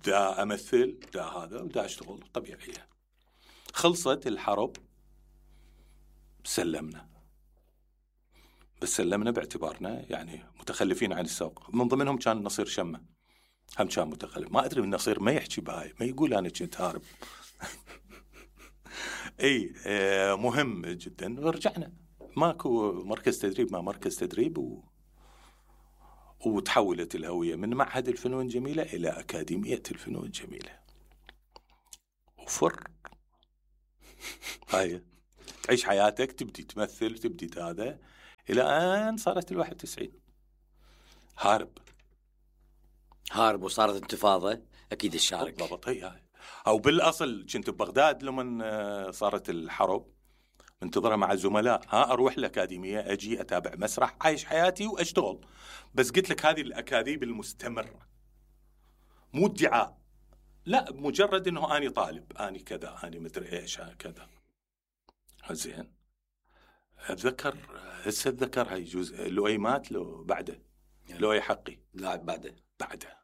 دا أمثل، دا هذا، دا أشتغل طبيعية. خلصت الحرب، سلمنا. بس سلمنا باعتبارنا يعني متخلفين عن السوق. من ضمنهم كان نصير شمة، هم كان متخلف. ما أدري من نصير ما يحكي بهاي، ما يقول أنا كنت هارب. اي اه مهم جدا. ورجعنا ماكو مركز تدريب، ما مركز تدريب و... وتحولت الهوية من معهد الفنون الجميلة إلى أكاديمية الفنون الجميلة. وفر هاي تعيش حياتك، تبدي تمثل، تبدي هذا، إلى أن صارت الواحد وتسعين هارب هارب وصارت انتفاضة، أكيد الشارك. بالضبط. هي أو بالأصل كنت ببغداد لما صارت الحرب، منتظرها مع الزملاء، ها أروح الأكاديمية، أجي أتابع مسرح، عايش حياتي وأشتغل. بس قلت لك هذه الأكاذيب المستمرة، مو ادعاء، لا، مجرد إنه أنا طالب، أنا كذا، أنا مدري إيش كذا. زين، أتذكر هسه أتذكر هاي جزء لؤي مات لو بعده، لؤي حقي لا بعده بعده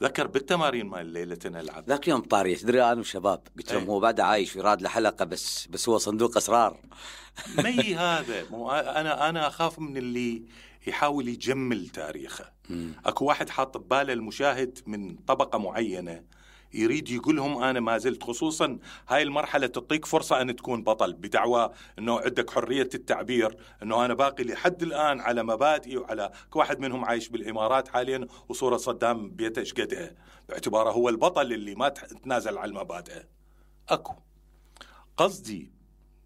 ذكر بالتمارين مال ليلة نلعب ذاك يوم طاري، تدري أنا وشباب قلت لهم هو بعد عايش ويراد له حلقة، بس بس هو صندوق أسرار. مي هذا مو أنا أنا أخاف من اللي يحاول يجمل تاريخه. أكو واحد حاط بباله المشاهد من طبقة معينة يريد يقولهم أنا ما زلت، خصوصا هاي المرحلة تعطيك فرصة أن تكون بطل، بدعوى أنه عندك حرية التعبير، أنه أنا باقي لحد الآن على مبادئي وعلى واحد منهم عايش بالإمارات حاليا، وصورة صدام بيته شقدها، باعتباره هو البطل اللي ما تنازل على المبادئ. أكو قصدي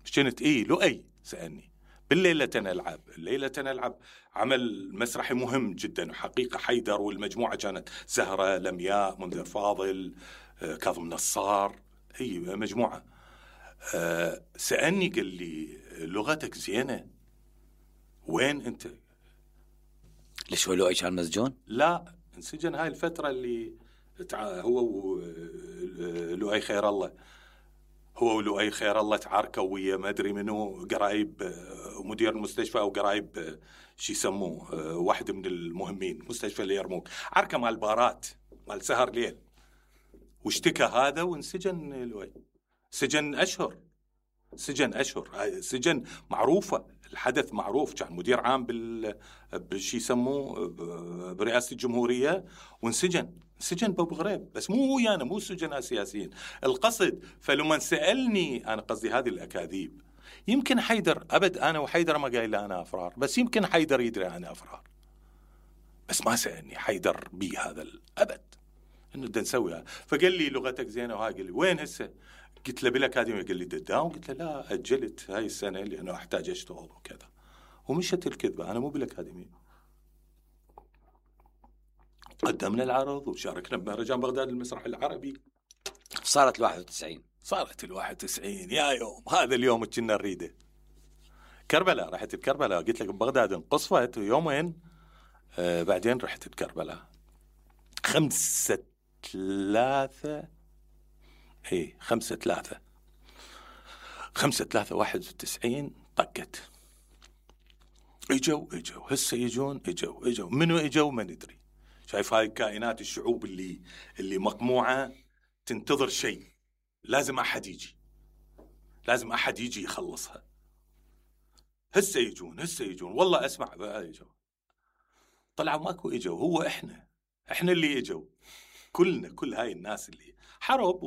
شنت إيه لؤي سألني بالليلة نلعب، الليلة نلعب عمل مسرحي مهم جدا، وحقيقة حيدر والمجموعة كانت زهرة، لمياء، منذر فاضل، كاظم نصار، هي مجموعة. سألني قال لي لغتك زينة، وين أنت؟ ليش هو لؤي كان مسجون؟ لا، انسجن هاي الفترة اللي هو ولؤي خير الله، هو ولؤي خير الله تعاركوا ويا ما ادري منو قرايب مدير المستشفى او قرايب شي يسموه واحد من المهمين مستشفى اللي يرموك، عركه مال بارات مال سهر ليل، واشتكى هذا وانسجن لؤي. سجن اشهر، سجن اشهر، سجن معروفه، الحدث معروف، كان مدير عام بال بشي يسموه برئاسه الجمهوريه وانسجن، سجن بابو غريب، بس مو هو يعني مو سجناء سياسيين القصد. فلما سألني أنا قصدي هذه الأكاذيب، يمكن حيدر أبد، أنا وحيدر ما قايل أنا أفرار، بس يمكن حيدر يدري أنا أفرار، بس ما سألني حيدر بي هذا الأبد إنه بدنا نسويها. فقال لي لغتك زينة، وهاي قال لي وين هسه؟ قلت له بالأكاديمية. قال لي داون. قلت له لا، أجلت هاي السنة لأنه أحتاج أشتغل وكذا، ومشت الكذبة، أنا مو بالأكاديمية. قدمنا العرض وشاركنا بمهرجان بغداد المسرح العربي. صارت الواحد وتسعين صارت الواحد وتسعين يا يوم، هذا اليوم كنا نريده. كربلاء، رحت بكربلاء، قلت لك ببغداد انقصفت يومين، آه بعدين رحت بكربلاء. خمسة ثلاثة ايه خمسة ثلاثة خمسة ثلاثة واحد وتسعين طقت. اجوا اجوا هسه يجون، اجوا اجوا منو اجوا ما ندري. شايف هاي الكائنات الشعوب اللي اللي مقموعة تنتظر شيء، لازم أحد يجي، لازم أحد يجي يخلصها. هسه يجون هسه يجون والله أسمع بقى يجوا، طلعوا ماكو إجوا، هو إحنا إحنا اللي إجوا كلنا، كل هاي الناس اللي حرب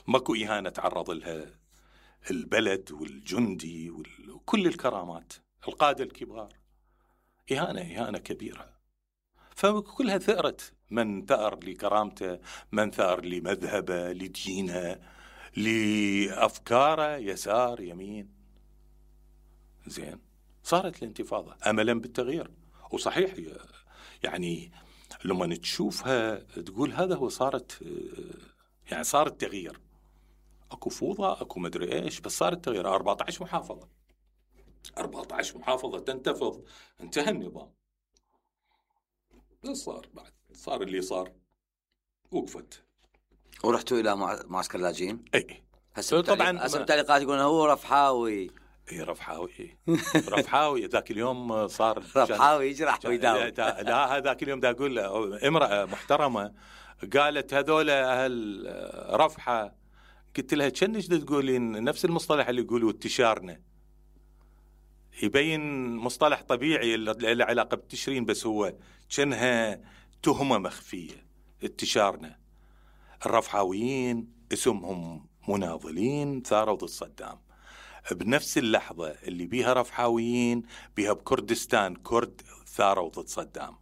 وماكو إهانة تعرض لها البلد والجندي وكل الكرامات، القادة الكبار، إهانة إهانة كبيرة. فكلها ثأرت، من ثأر لكرامته، من ثأر لمذهبه، لدينه، لأفكاره، يسار يمين. زين، صارت الانتفاضة أملا بالتغيير. وصحيح يعني لما تشوفها تقول هذا هو، صارت يعني صار التغيير، أكو فوضى أكو مدري إيش، بس صار التغيير. أربعة عشر محافظة أربعة عشر محافظة تنتفض، انتهى النظام. صار بعد صار اللي صار، وقفت. ورحتوا إلى معسكر اللاجئين؟ اي هسه طبعا هسه التعليقات يقولون هو رفحاوي. اي رفحاوي إيه. رفحاوي ذاك اليوم صار رفحاوي يجرح ويداوي. لا هذاك اليوم دا اقول امرأة محترمة قالت هذول اهل رفحة، قلت لها كنش تقولين نفس المصطلح اللي يقولوا انتشارنا، يبين مصطلح طبيعي له علاقة بالتشرين، بس هو كأنها تهمة مخفية. انتشارنا، الرفحاويين اسمهم مناضلين ثاروا ضد صدام. بنفس اللحظة اللي بيها رفحاويين بيها بكردستان كرد ثاروا ضد صدام.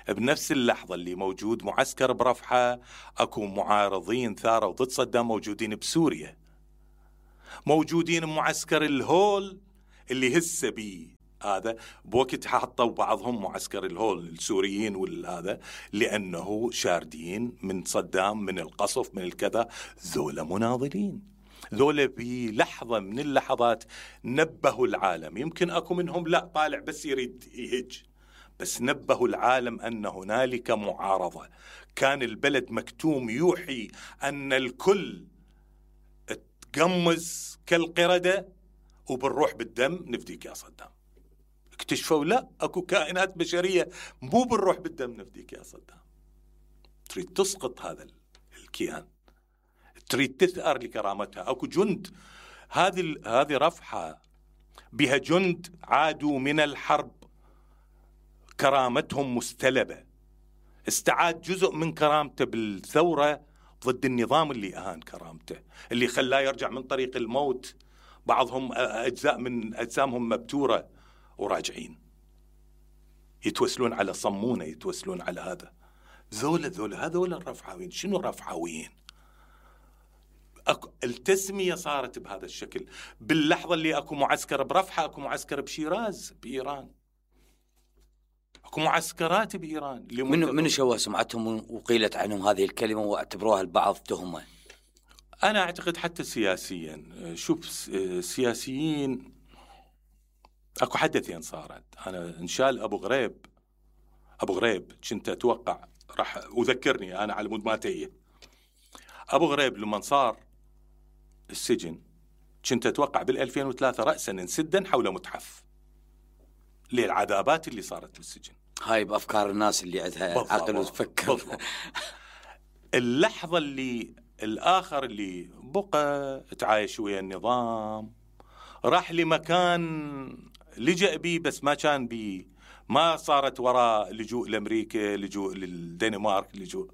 بنفس اللحظة اللي موجود معسكر برفحة اكو معارضين ثاروا ضد صدام موجودين بسوريا. موجودين معسكر الهول اللي هسه بيه هذا، بوقت حطوا بعضهم معسكر الهول السوريين والهذا، لأنه شاردين من صدام، من القصف، من الكذا. ذولا مناضلين، ذولا بلحظة من اللحظات نبهوا العالم. يمكن أكو منهم لا طالع بس يريد يهج، بس نبهوا العالم أن هنالك معارضة. كان البلد مكتوم يوحي أن الكل تقمز كالقردة وبنروح بالدم نفديك يا صدام. اكتشفوا لا، اكو كائنات بشرية مو بنروح بالدم نفديك يا صدام. تريد تسقط هذا الكيان، تريد تثأر لكرامتها. اكو جند، هذه هذه رفحة بها جند عادوا من الحرب كرامتهم مستلبة. استعاد جزء من كرامته بالثورة ضد النظام اللي أهان كرامته، اللي خلاه يرجع من طريق الموت. بعضهم أجزاء من أجسامهم مبتورة وراجعين يتوسلون على صمونة، يتوسلون على هذا. ذولا ذولا هذولا الرفعاويين. شنو الرفعاويين؟ التسمية صارت بهذا الشكل. باللحظة اللي أكو معسكر برفحة، أكو معسكر بشيراز بإيران، أكو معسكرات بإيران. من من شوه سمعتهم وقيلت عنهم هذه الكلمة واعتبروها البعض تهمة؟ أنا أعتقد حتى سياسيا، شوف سياسيين أكو حدثين صارت. أنا إنشال أبو غريب، أبو غريب كنت أتوقع راح أذكرني أنا على مود ما تيه. أبو غريب لما صار السجن كنت أتوقع بالألفين وثلاثة رأسا انسدا حول متحف للعذابات اللي صارت بالسجن. هاي بأفكار الناس اللي عندها عقل وتفكر. اللحظة اللي الآخر اللي بقى تعايش ويا النظام، راح لمكان لجأ بيه بس ما كان بيه، ما صارت وراء لجوء لأمريكا، لجوء للدنمارك، لجوء.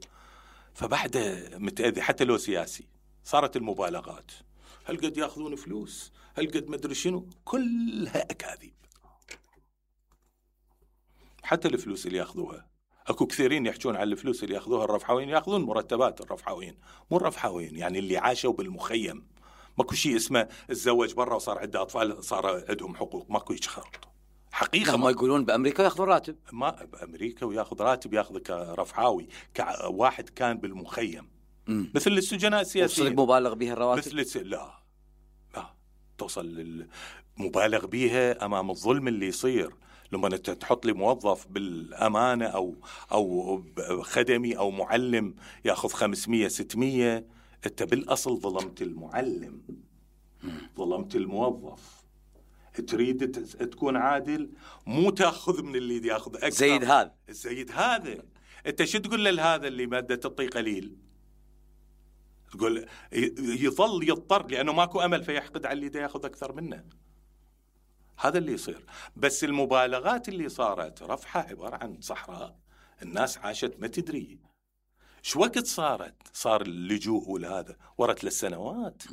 فبعد متأذي حتى لو سياسي. صارت المبالغات، هل قد يأخذون فلوس، هل قد مدري شنو، كلها أكاذيب. حتى الفلوس اللي يأخذوها، أكو كثيرين يحجون على الفلوس اللي يأخذوها الرفحاويين، يأخذون مرتبات الرفحاويين، مو الرفحاويين يعني اللي عاشوا بالمخيم. ماكو شيء اسمه الزوج برا وصار عنده أطفال صار عندهم حقوق، ماكو هيك خرط. حقيقة ما يقولون بأمريكا يأخذون راتب، ما بأمريكا ويأخذ راتب، يأخذ كرفحاوي كواحد كان بالمخيم. مم. مثل السجناء السياسيين. وصل مبالغ بها الرواتب؟ مثل الس... لا لا توصل للمبالغ بها أمام الظلم اللي يصير. لما انت تحط لي موظف بالامانه او او خدمي او معلم ياخذ خمسمية ستمية، انت بالاصل ظلمت المعلم، ظلمت الموظف. تريد تكون عادل، مو تاخذ من اللي ياخذ اكثر. زيد هذا زيد هذا. انت شو تقول لهذا اللي ماده تعطيه قليل؟ تقول يظل يضطر لانه ماكو امل فيحقد على اللي دا ياخذ اكثر منه. هذا اللي يصير. بس المبالغات اللي صارت، رفحة عبارة عن صحراء الناس عاشت ما تدري شو وقت صارت. صار اللجوء والهذا ورا ثلاث سنوات،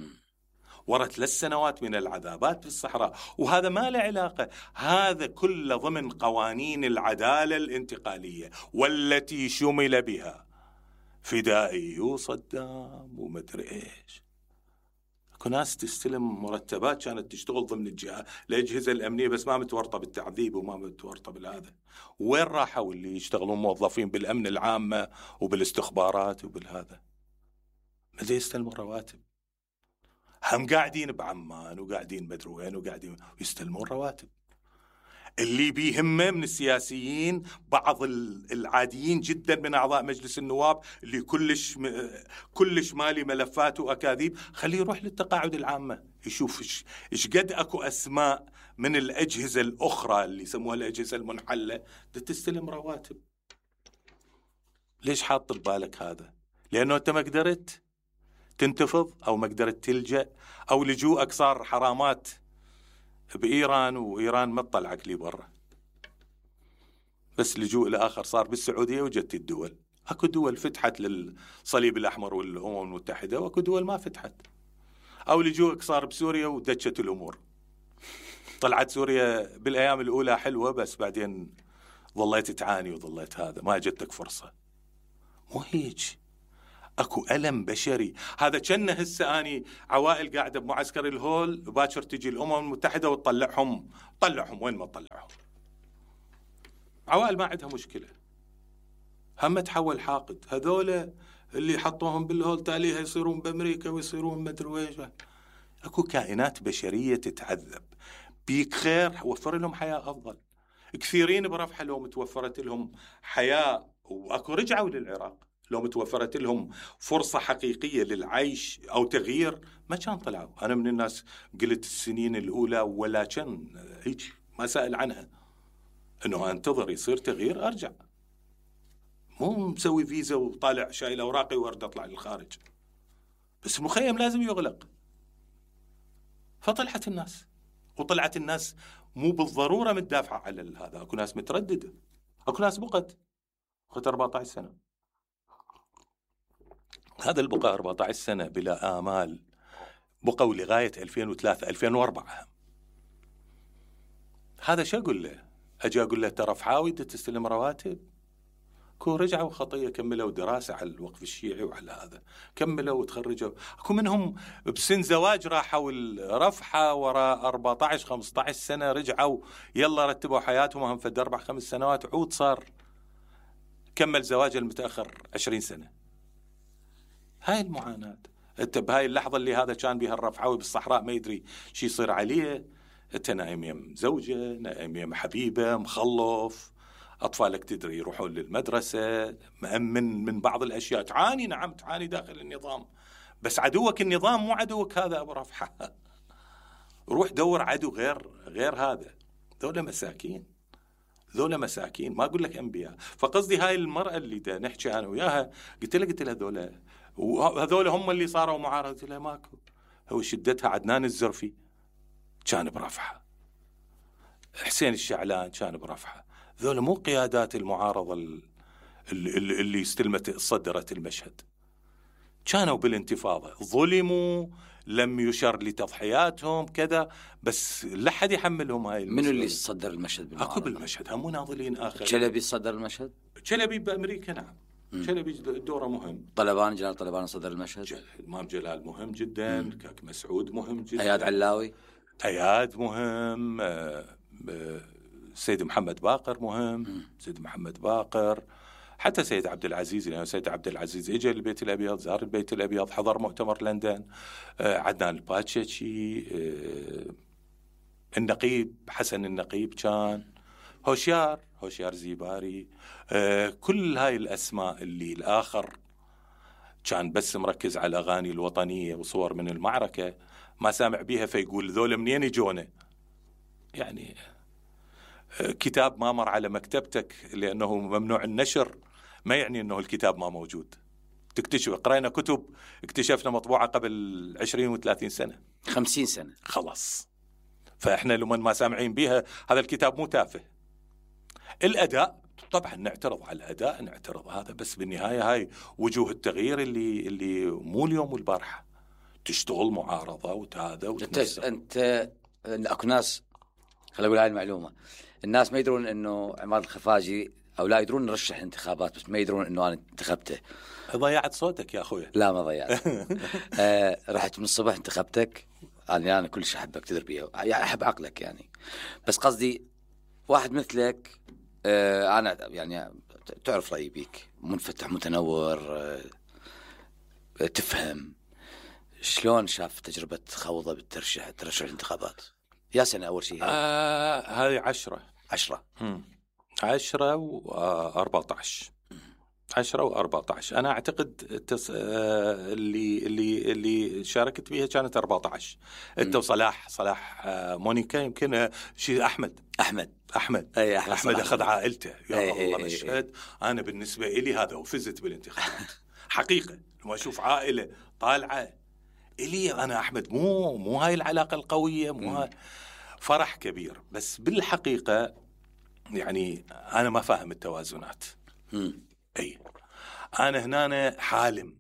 ورا ثلاث سنوات من العذابات في الصحراء. وهذا ما له علاقة، هذا كله ضمن قوانين العدالة الانتقالية والتي شمل بها فدائي وصدام ومدري ايش. اكو ناس تستلم مرتبات كانت تشتغل ضمن الجهة الأجهزة الأمنية بس ما متورطة بالتعذيب وما متورطة بالهذا. وين راحوا اللي يشتغلون موظفين بالأمن العامة وبالاستخبارات وبالهذا؟ ماذا يستلمون رواتب؟ هم قاعدين بعمان وقاعدين مدري وين وقاعدين يستلمون رواتب. اللي بيهمه من السياسيين بعض العاديين جدا من أعضاء مجلس النواب اللي كلش كلش مالي ملفات وأكاذيب، خليه يروح للتقاعد العامة يشوف إيش إيش قد أكو أسماء من الأجهزة الأخرى اللي يسموها الأجهزة المنحلة تستلم رواتب. ليش حاط ببالك هذا؟ لأنه أنت ما قدرت تنتفض أو ما قدرت تلجأ أو لجوءك صار حرامات بإيران وإيران ما تطلعك لي برا. بس لجوء الآخر صار بالسعودية وجدت الدول. أكو دول فتحت للصليب الأحمر والأمم المتحدة وأكو دول ما فتحت. أو لجوءك صار بسوريا ودشت الأمور. طلعت سوريا بالأيام الأولى حلوة بس بعدين ظليت تعاني وظليت هذا ما جدتك فرصة. مو هيج. اكو ألم بشري. هذا كأنه هسه اني عوائل قاعده بمعسكر الهول، باكر تجي الامم المتحده وتطلعهم، طلعهم وين ما تطلعهم. عوائل ما عندها مشكله، هم تحول حاقد. هذول اللي حطوهم بالهول تاليها يصيرون بامريكا ويصيرون مدري ويش. اكو كائنات بشريه تتعذب. بيك خير وفر لهم حياه افضل. كثيرين برفحه لو متوفرت لهم حياه، واكو رجعوا للعراق لو متوفرت لهم فرصه حقيقيه للعيش او تغيير ما كان طلعوا. انا من الناس قلت السنين الاولى ولا كان هيك ما سأل عنها، انه انتظر يصير تغيير ارجع، مو مسوي فيزا وطالع شايل اوراقي وارد اطلع للخارج. بس المخيم لازم يغلق. فطلعت الناس، وطلعت الناس مو بالضروره متدافعه على هذا، اكو ناس متردده، اكو ناس بقت بقت أربعة عشر سنه. هذا البقاء أربعة عشر سنه بلا امال بقوا لغايه ألفين وثلاثة ألفين وأربعة. هذا شو اقول له؟ اجي اقول له ترى فحاوي تستلم رواتب؟ كو رجعوا خطيه، كملوا دراسه على الوقف الشيعي وعلى هذا، كملوا وتخرجوا. اكو منهم بسن زواج راحوا الرفحه وراء أربعة عشر خمسة عشر سنه، رجعوا يلا رتبوا حياتهم هم فد اربع خمس سنوات، عود صار كمل زواجه المتاخر عشرين سنه. هاي المعاناه. انت بهاي اللحظه اللي هذا كان بها الرفحاوي بالصحراء ما يدري شو يصير عليه، انت نايم يم زوجه، نايم يم حبيبه، مخلف، أطفالك تدري يروحون للمدرسة، مأمن من بعض الأشياء. تعاني، نعم تعاني داخل النظام، بس عدوك النظام مو عدوك هذا أبو رفحة. روح دور عدو غير غير هذا. ذولا مساكين، ذولا مساكين، ما أقول لك أنبياء. فقصدي هاي المرأة اللي دا نحكي أنا وياها، قلت لها قلت لها ذولا وهذول هم اللي صاروا معارضة. قلت لها ماكو، هو شدتها عدنان الزرفي كان برفحة، حسين الشعلان كان برفحة. ذولا مو قيادات المعارضة اللي, اللي استلمت صدرت المشهد، كانوا بالانتفاضة، ظلموا، لم يشر لتضحياتهم كذا، بس لا حد يحملهم هاي المسؤولية. منو اللي صدر المشهد بالمعارضة؟ اكو بالمشهد هم مناضلين اخر. شلبي صدر المشهد؟ شلبي بامريكا نعم. م. شلبي دوره مهم. طلبان، جلال طلبان صدر المشهد. جل... امام جلال مهم جدا. م. كاك مسعود مهم جدا. اياد علاوي اياد مهم. آه... آه... سيد محمد باقر مهم. م. سيد محمد باقر، حتى سيد عبد العزيز، لأنه سيد عبد العزيز اجى البيت الابيض، زار البيت الابيض، حضر مؤتمر لندن. آه عدنان الباتشيشي، آه النقيب حسن النقيب كان، هوشيار هوشيار زيباري، آه كل هاي الاسماء اللي الاخر كان بس مركز على الاغاني الوطنيه وصور من المعركه ما سامع بيها، فيقول ذول منين يجونه. يعني كتاب ما مر على مكتبتك لأنه ممنوع النشر ما يعني أنه الكتاب ما موجود. تكتشف، قرأنا كتب اكتشفنا مطبوعة قبل عشرين وثلاثين سنة، خمسين سنة خلاص. فإحنا لمن ما سامعين بها هذا الكتاب مو تافه. الأداء طبعا نعترض على الأداء، نعترض هذا، بس بالنهاية هاي وجوه التغيير اللي اللي مو اليوم والبارحة. تشتغل معارضة وتهذا وتنسى. أنت أنت أكو ناس، خليني أقول هاي المعلومة، الناس ما يدرون انه عماد الخفاجي او لا يدرون نرشح انتخابات، بس ما يدرون انه انا انتخبته. ضيعت صوتك يا اخوي. لا ما ضيعت. آه رحت من الصبح انتخبتك. انا انا كل شيء احبك تدري بيه، يعني احب عقلك يعني، بس قصدي واحد مثلك آه انا يعني تعرف رايي بيك، منفتح متنور، آه تفهم. شلون شاف تجربة خوضة بالترشح ترشح الانتخابات؟ يا سنة أول شيء آه هذه عشرة عشرة مم. عشرة وأربعة عشر عشرة وأربعة عشر. أنا أعتقد التص... آه اللي اللي اللي شاركت بها كانت أربعة عشر. أنت وصلاح صلاح آه مونيكا يمكن آه شيء أحمد أحمد أحمد أي أحمد, أحمد أخذ عائلته. يا أي الله أي مشهد. أي أنا بالنسبة إلي هذا وفزت بالانتخابات حقيقة. لما أشوف عائلة طالعة إلي أنا أحمد، مو مو هاي العلاقة القوية، مو هاي فرح كبير. بس بالحقيقة يعني أنا ما فاهم التوازنات. مم. أي أنا هنا حالم.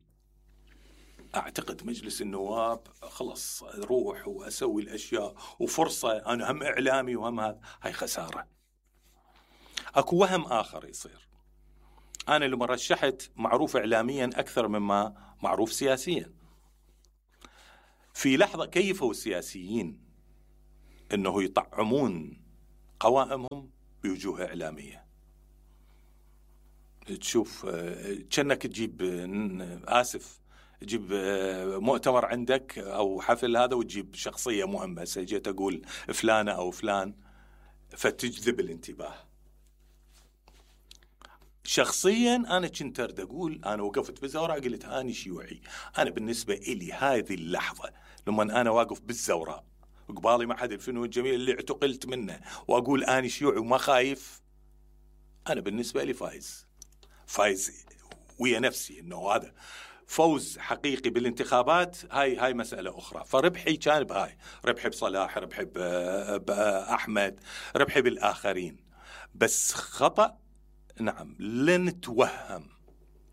أعتقد مجلس النواب خلص روح وأسوي الأشياء وفرصة، أنا هم إعلامي وهم هذا، هاي خسارة. أكو وهم آخر يصير. أنا لما رشحت معروف إعلاميا أكثر مما معروف سياسيا. في لحظة كيفوا السياسيين أنه يطعمون قوائمهم بوجوه إعلامية. تشوف كأنك تجيب آسف تجيب مؤتمر عندك أو حفل هذا وتجيب شخصية مهمة، سجيت أقول فلانة أو فلان، فتجذب الانتباه. شخصيا أنا كنت أرد أقول، أنا وقفت بالزوراء قلت أنا شيوعي. أنا بالنسبة إلي هذه اللحظة لما أنا واقف بالزوراء وقبالي معهد الفنون الجميل اللي اعتقلت منه وأقول أنا شيوعي وما خايف، أنا بالنسبة لي فايز فايز ويا نفسي إنه هذا فوز حقيقي بالانتخابات. هاي هاي مسألة أخرى. فربحي كان بهاي، ربحي بصلاح، ربحي بأحمد، ربحي بالآخرين. بس خطأ نعم لن توهم،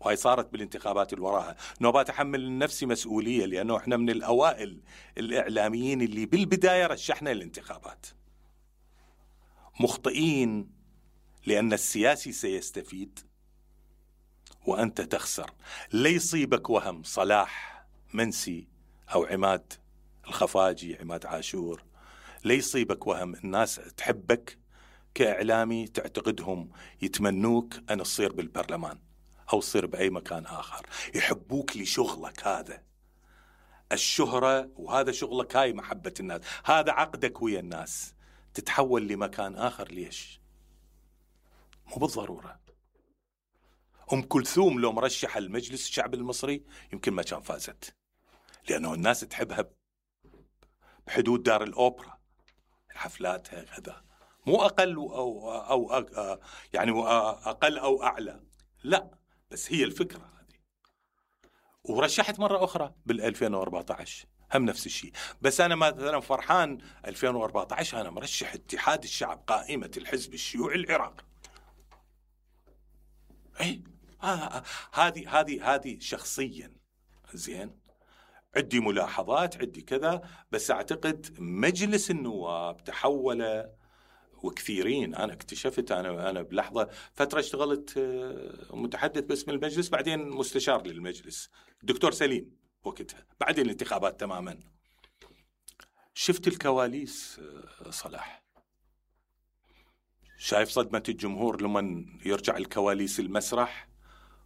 وهي صارت بالانتخابات اللي وراها، نوبات أحمل نفسي مسؤولية، لأنه إحنا من الأوائل الإعلاميين اللي بالبداية رشحنا الانتخابات. مخطئين، لأن السياسي سيستفيد وأنت تخسر. لا يصيبك وهم صلاح منسي أو عماد الخفاجي، عماد عاشور، لا يصيبك وهم الناس تحبك كإعلامي، تعتقدهم يتمنوك أن تصير بالبرلمان أو تصير بأي مكان آخر، يحبوك لشغلك هذا، الشهرة، وهذا شغلك، هاي محبة الناس، هذا عقدك ويا الناس. تتحول لمكان آخر ليش؟ مو بالضرورة. أم كلثوم لو مرشح المجلس الشعب المصري يمكن ما كان فازت، لأنه الناس تحبها بحدود دار الأوبرا، حفلاتها كذا، مو أقل أو, أو, أو يعني أقل أو أعلى، لا، بس هي الفكرة هذه. ورشحت مرة أخرى بالألفين وأربعة عشر هم نفس الشيء. بس أنا مثلا فرحان ألفين وأربعة عشر أنا مرشح اتحاد الشعب، قائمة الحزب الشيوعي العراقي. أي هذه هذه هذه شخصيا زين، عندي ملاحظات، عندي كذا، بس أعتقد مجلس النواب تحول، وكثيرين أنا اكتشفت، أنا أنا بلحظة فترة اشتغلت متحدث باسم المجلس، بعدين مستشار للمجلس، الدكتور سليم وقتها، بعدين الانتخابات تماما. شفت الكواليس صلاح، شايف صدمة الجمهور لما يرجع الكواليس المسرح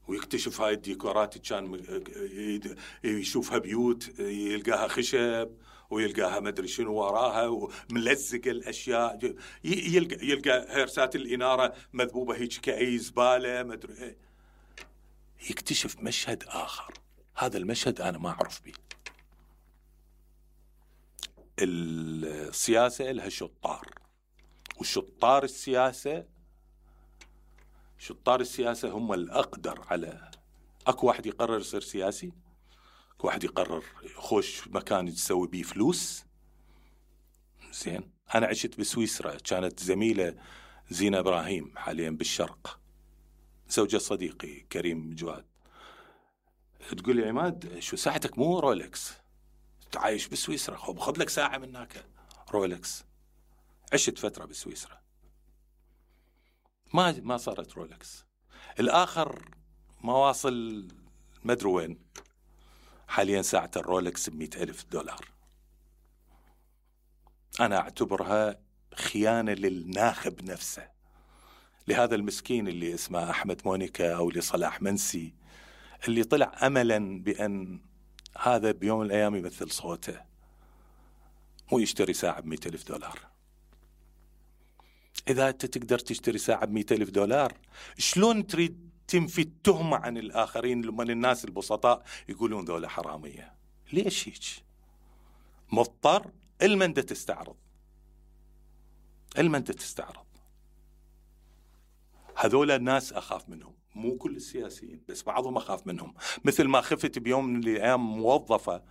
ويكتشف هاي الديكورات، كان يشوفها بيوت يلقاها خشب ويلقاها مدري شنو وراها وملزق الأشياء، يلقى يلقى هيرسات الإنارة مذبوبة هيك كأي زبالة مدري إيه. يكتشف مشهد آخر، هذا المشهد أنا ما أعرف به. السياسة لها شطار، وشطار السياسة شطار السياسة هم الأقدر على، أكو واحد يقرر يصير سياسي، أكو واحد يقرر يخش مكان يسوي بيه فلوس. زين، أنا عشت بسويسرا، كانت زميلة زينة إبراهيم حاليا بالشرق، زوجة صديقي كريم جواد، تقول لي عماد شو ساعتك مو رولكس، تعايش بسويسرا، خذ لك ساعة من هناك رولكس. عشت فترة بسويسرا، ما ما صارت رولكس. الآخر ما واصل مدري وين، حاليا ساعة الرولكس بمئة ألف دولار. أنا أعتبرها خيانة للناخب نفسه، لهذا المسكين اللي اسمه أحمد مونيكا أو لصلاح منسي، اللي طلع أملا بأن هذا بيوم من الأيام يمثل صوته، مو يشتري ساعة بمئة ألف دولار. إذا أنت تقدر تشتري ساعة بمئة ألف دولار، شلون تريد تنفي التهمة عن الآخرين لما الناس البسطاء يقولون ذولا حرامية؟ ليش هيك؟ مضطر المن دا تستعرض، المن دا تستعرض. هذولا الناس أخاف منهم، مو كل السياسيين بس بعضهم أخاف منهم. مثل ما خفت بيوم من الأيام موظفة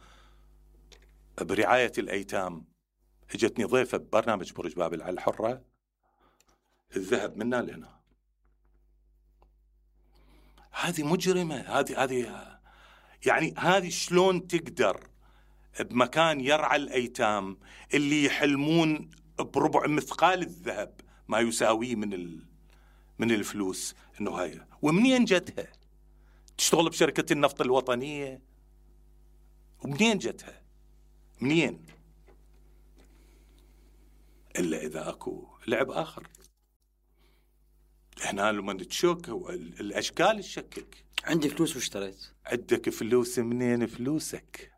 برعاية الأيتام، اجتني ضيفة ببرنامج برج بابل على الحرة، الذهب منا لنا. هذه مجرمة، هذه هذه يعني هذه شلون تقدر بمكان يرعى الأيتام اللي يحلمون بربع مثقال الذهب ما يساويه من ال من الفلوس انه هاي، ومنين جتها؟ تشتغل بشركة النفط الوطنية، ومنين جتها؟ منين؟ الا اذا اكو لعب اخر. هنا لما تشك الاشكال تشكك. عندي فلوس واشتريت. عندك فلوس، منين فلوسك؟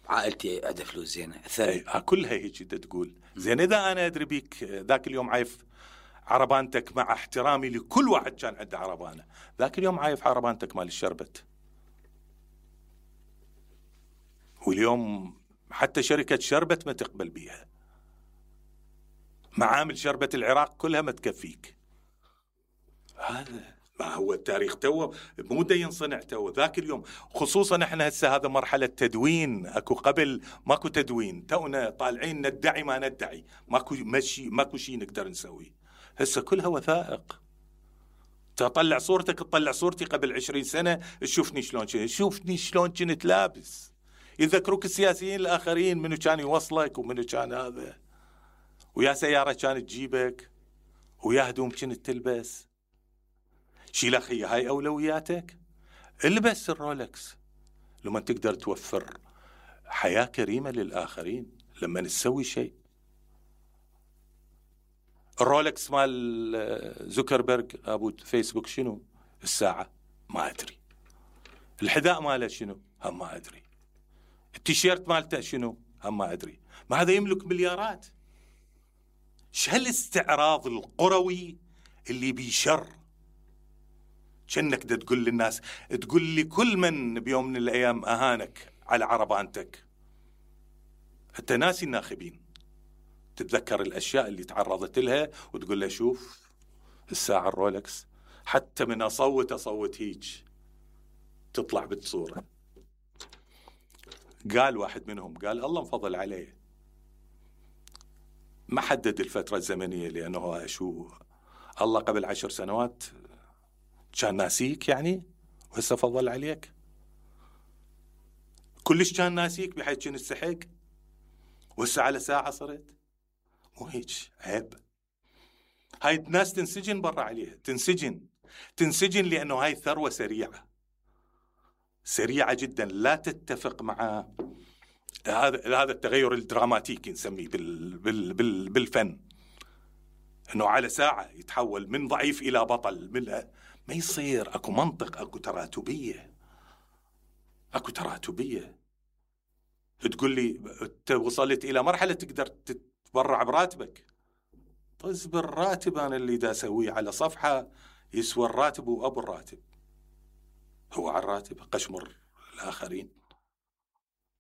عائلتي عندها فلوس زينه ثري. كلها هيك تقول زين. اذا انا ادري بيك ذاك اليوم عايف عربانتك، مع احترامي لكل واحد كان عنده عربانه، ذاك اليوم عايف عربانتك مال الشربت، واليوم حتى شركه شربت ما تقبل بيها، معامل شربت العراق كلها ما تكفيك. هذا ما هو التاريخ تو مو دا ينصنع تو ذاك اليوم. خصوصا احنا هسه هذا مرحله تدوين، اكو قبل ماكو تدوين، تونا طالعين ندعي ما ندعي، ماكو مشي، ماكو شيء نقدر نسويه. هسه كلها وثائق. تطلع صورتك، تطلع صورتي قبل عشرين سنه، تشوفني شلون كنت، شوفني شلون كنت لابس. يذكروك السياسيين الاخرين منو كان يوصلك ومنو كان هذا، ويا سياره كانت تجيبك، ويا هدوم كنت تلبس. شيل اخي هاي اولوياتك، البس الرولكس لما تقدر توفر حياه كريمه للاخرين. لما نسوي شيء، الرولكس مال زوكربيرج ابو فيسبوك شنو الساعه؟ ما ادري. الحذاء ماله شنو؟ هم ما ادري. التيشيرت مالته شنو؟ هم ما ادري. ما هذا يملك مليارات. شو هالاستعراض القروي اللي بيشر؟ كأنك دا تقول للناس، تقول لي كل من بيوم من الأيام أهانك على عربانتك، أنت ناسي الناخبين. تتذكر الأشياء اللي تعرضت لها وتقول له شوف الساعة الرولكس، حتى من أصوت أصوت هيج تطلع بالصورة. قال واحد منهم، قال الله مفضل عليه، ما حدد الفترة الزمنية، لأنه شو الله قبل عشر سنوات كان ناسيك يعني، وهسه فضل عليك. كلش كان ناسيك بحيث كنت تستحق، وهسه على ساعة صرت. مو هيك، عيب. هاي الناس تنسجن برا عليها، تنسجن تنسجن لأنه هاي ثروة سريعة سريعة جدا، لا تتفق مع هذا هذا التغير الدراماتيكي نسميه بال بال بال بالفن، انه على ساعة يتحول من ضعيف إلى بطل. من ما يصير. اكو منطق، اكو تراتبية، اكو تراتبية. تقول لي انت وصلت الى مرحلة تقدر تتبرع براتبك، طز بالراتب. انا اللي دا اسويه على صفحة يسوى الراتب وابو الراتب، هو على الراتب قشمر الاخرين.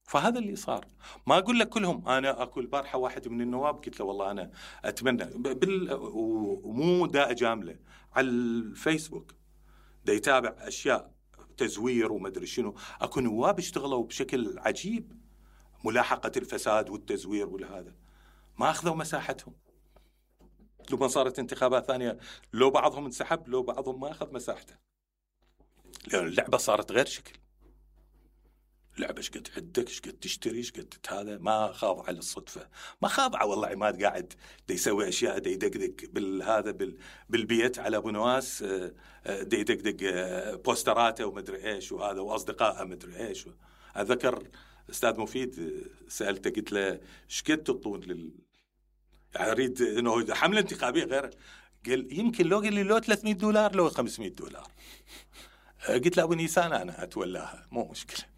فهذا اللي صار. ما اقول لك كلهم. انا اكو البارحة واحد من النواب قلت له والله انا اتمنى بال... ومو دا اجامله على الفيسبوك، دا يتابع اشياء تزوير وما ادري شنو. اكو نواب اشتغلوا بشكل عجيب ملاحقة الفساد والتزوير والهذا، ما اخذوا مساحتهم. لما صارت انتخابات ثانية، لو بعضهم انسحب، لو بعضهم ما اخذ مساحته، لأن اللعبة صارت غير شكل. لعبة شقد عندك، شقد تشتري، شقد هذا. ما خاضعة للصدفة، ما خاضعة. والله عماد قاعد دا يسوي أشياء، دا يدقدق بالهذا بال بالبيت على أبو نواس، دا يدقدق بوستراته ومدري إيش وهذا، وأصدقائه مدري إيش. أذكر أستاذ مفيد سألته، قلت له شقد تطون لل يعني أريد إنه حملة انتخابية غير. قال يمكن لو قال لي لو ثلاثمية دولار، لو خمسمية دولار. قلت له أبو نيسان أنا أتولاها، مو مشكلة.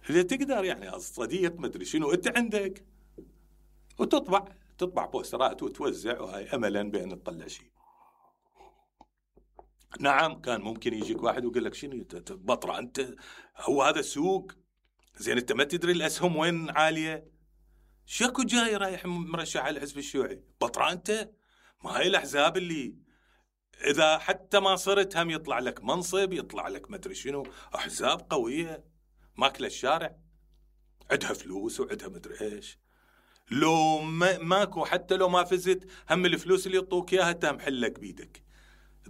إذا تقدر يعني صديق مدري شنو أنت عندك، وتطبع تطبع بوسترات وتوزع، وهاي أملا بأن تطلع شيء. نعم كان ممكن يجيك واحد ويقول لك شنو بطرة أنت، هو هذا السوق زين، أنت ما تدري الأسهم وين عالية. شكو جاي رايح مرشح على الحزب الشيوعي، بطرة أنت. ما هاي الأحزاب اللي إذا حتى ما صرت هم يطلع لك منصب، يطلع لك مدري شنو. أحزاب قوية ماكله الشارع، عندها فلوس وعندها مدري ايش. لو ما ماكو، حتى لو ما فزت، هم الفلوس اللي يعطوك اياها تهم حلك بيدك،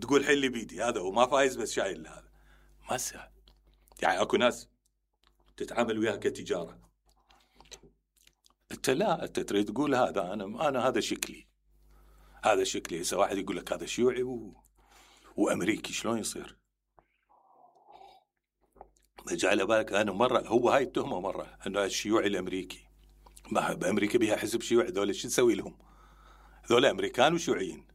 تقول حلي بيدي هذا، وما فايز بس شايل هذا. ما سهل يعني. اكو ناس تتعامل وياها كتجاره، انت لا، انت تريد تقول هذا انا انا هذا شكلي، هذا شكلي. هسه واحد يقول لك هذا شيوعي و... وامريكي، شلون يصير؟ جعل بالك انا مره هو هاي التهمه مره انه الشيوعي الامريكي، ما بامريكا بها حزب شيوعي، ذولا شو نسوي لهم؟ ذولا امريكان وشيوعيين،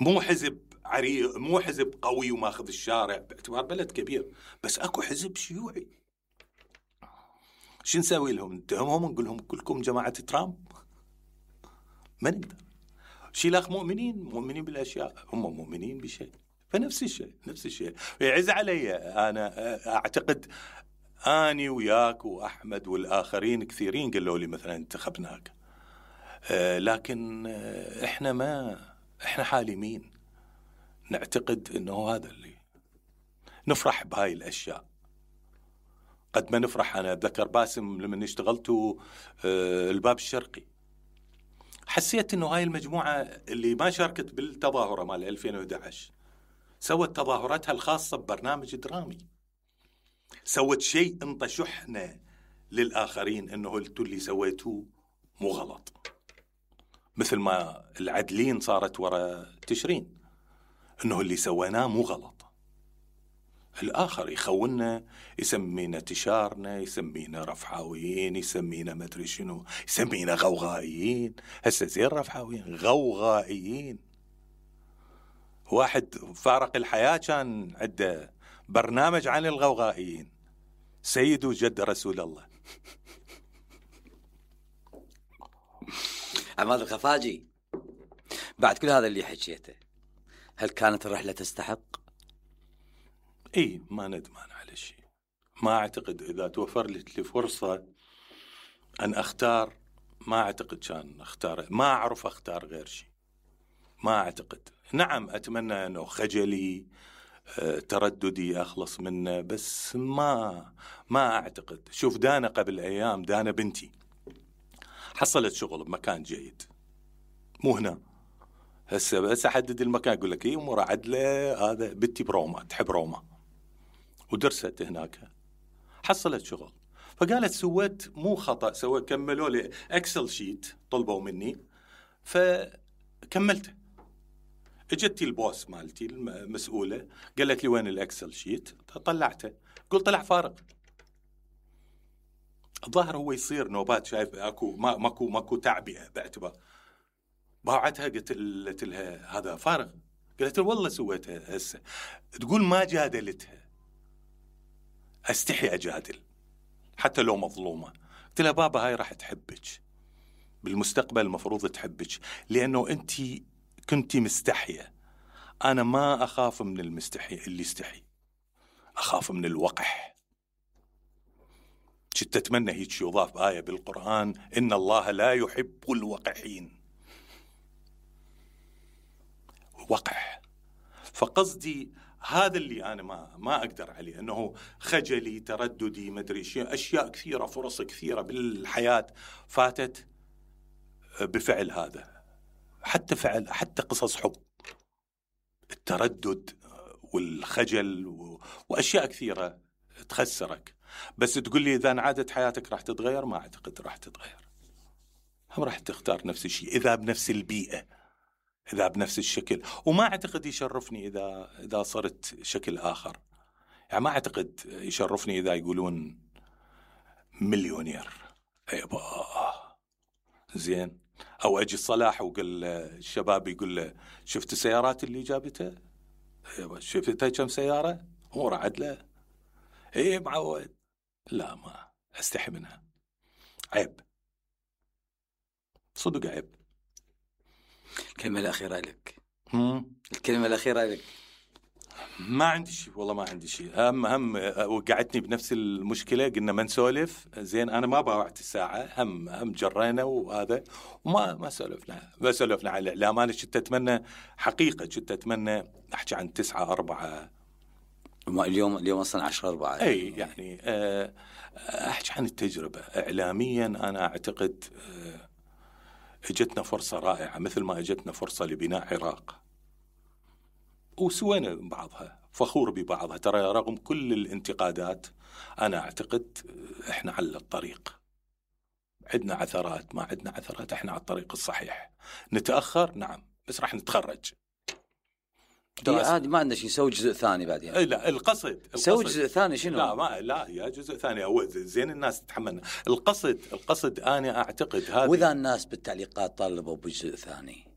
مو حزب عريق، مو حزب قوي وماخذ الشارع باعتبار بلد كبير، بس اكو حزب شيوعي. شو نسوي لهم؟ نتهمهم ونقول لهم كلكم جماعه ترامب؟ ما نقدر. شيلاخ مؤمنين مؤمنين بالاشياء، هم مؤمنين بشيء، فنفس الشيء نفس الشيء يعز علي. انا اعتقد اني وياك واحمد والاخرين كثيرين قالوا لي مثلا انتخبناك، لكن احنا ما احنا حالمين، نعتقد انه هذا اللي نفرح بهاي الاشياء قد ما نفرح. انا اتذكر باسم لما اشتغلت الباب الشرقي، حسيت انه هاي المجموعه اللي ما شاركت بالتظاهره مال ألفين وأحد عشر سوت تظاهراتها الخاصه ببرنامج درامي، سوت شيء انطى شحنه للاخرين انه انتوا اللي سويتوه مو غلط، مثل ما العدلين صارت ورا تشرين انه اللي سويناه مو غلط. الآخر يخوننا، يسمينا تشارنا، يسمينا رفحاويين، يسمينا مدري شنو، يسمينا غوغائيين. هسه زين رفحاويين غوغائيين. واحد فارق الحياة كان عنده برنامج عن الغوغائيين، سيد وجد رسول الله. عماد الخفاجي، بعد كل هذا اللي حكيته، هل كانت الرحلة تستحق؟ اي ما ندمان على شيء. ما اعتقد اذا توفرت لي فرصة ان اختار، ما اعتقد كان اختار، ما اعرف اختار غير شيء، ما اعتقد. نعم اتمنى انه خجلي اه ترددي اخلص منه، بس ما ما اعتقد. شوف دانا قبل ايام، دانا بنتي حصلت شغل بمكان جيد، مو هنا هسه بس احدد المكان اقول لك ايه امور عدله. هذا بنتي بروما، تحب روما ودرست هناك، حصلت شغل. فقالت سويت مو خطأ، سويت كملوا لي اكسل شيت طلبوا مني فكملته. اجتي البوس مالتي المسؤولة قالت لي وين الاكسل شيت؟ طلعته، قلت طلع فارغ. الظاهر هو يصير نوبات، شايف اكو ما ماكو ماكو تعبئة باعتبار. باعتها قلت لها هذا فارغ، قالت والله سويتها هسه. تقول ما جادلتها، استحي اجادل حتى لو مظلومة. قلت لها بابا هاي راح تحبك بالمستقبل، المفروض تحبك لانه انت كنتي مستحية. انا ما اخاف من المستحي اللي يستحي، اخاف من الوقح. كنت اتمنى هيك يضاف آية بالقرآن ان الله لا يحب الوقحين. وقح. فقصدي هذا اللي أنا ما ما أقدر عليه، أنه خجلي ترددي مدري شيء، أشياء كثيرة، فرص كثيرة بالحياة فاتت بفعل هذا. حتى فعل حتى قصص حب، التردد والخجل و... وأشياء كثيرة تخسرك. بس تقول لي إذا انعادت حياتك راح تتغير، ما أعتقد راح تتغير. هم راح تختار نفس الشيء إذا بنفس البيئة، إذا بنفس الشكل. وما أعتقد يشرفني إذا إذا صرت شكل آخر. يعني ما أعتقد يشرفني إذا يقولون مليونير أيبا زين، أو أجي الصلاح وقال الشباب يقول له شفت السيارات اللي جابتها؟ أيبا شفتها كم سيارة؟ أمور عدلة. إيه معود. لا ما أستحي منها، عيب، صدق عيب. الكلمة الأخيرة لك. هم؟ الكلمة الأخيرة لك. ما عندي شيء والله، ما عندي شيء. هم هم وقعتني بنفس المشكلة، قلنا ما نسولف زين. أنا ما باوعت الساعة، هم هم جرينا وهذا وما ما سولفنا ما سولفنا على الإعلام. أنا كنت أتمنى حقيقة، كنت أتمنى أحكي عن تسعة أربعة. اليوم اليوم أصلا عشرة أربعة. أي يعني أحكي عن التجربة إعلاميا. أنا أعتقد اجتنا فرصة رائعة، مثل ما اجتنا فرصة لبناء عراق وسوينا بعضها، فخور ببعضها. ترى رغم كل الانتقادات أنا أعتقد إحنا على الطريق، عندنا عثرات ما عندنا عثرات، احنا على الطريق الصحيح. نتاخر نعم بس راح نتخرج. عادي ما عندنا شيء، نسوي جزء ثاني بعدين. لا القصد نسوي جزء ثاني شنو؟ لا ما لا يا جزء ثاني هو زين الناس تتحملنا. القصد القصد انا اعتقد هذا. واذا الناس بالتعليقات طالبوا بجزء ثاني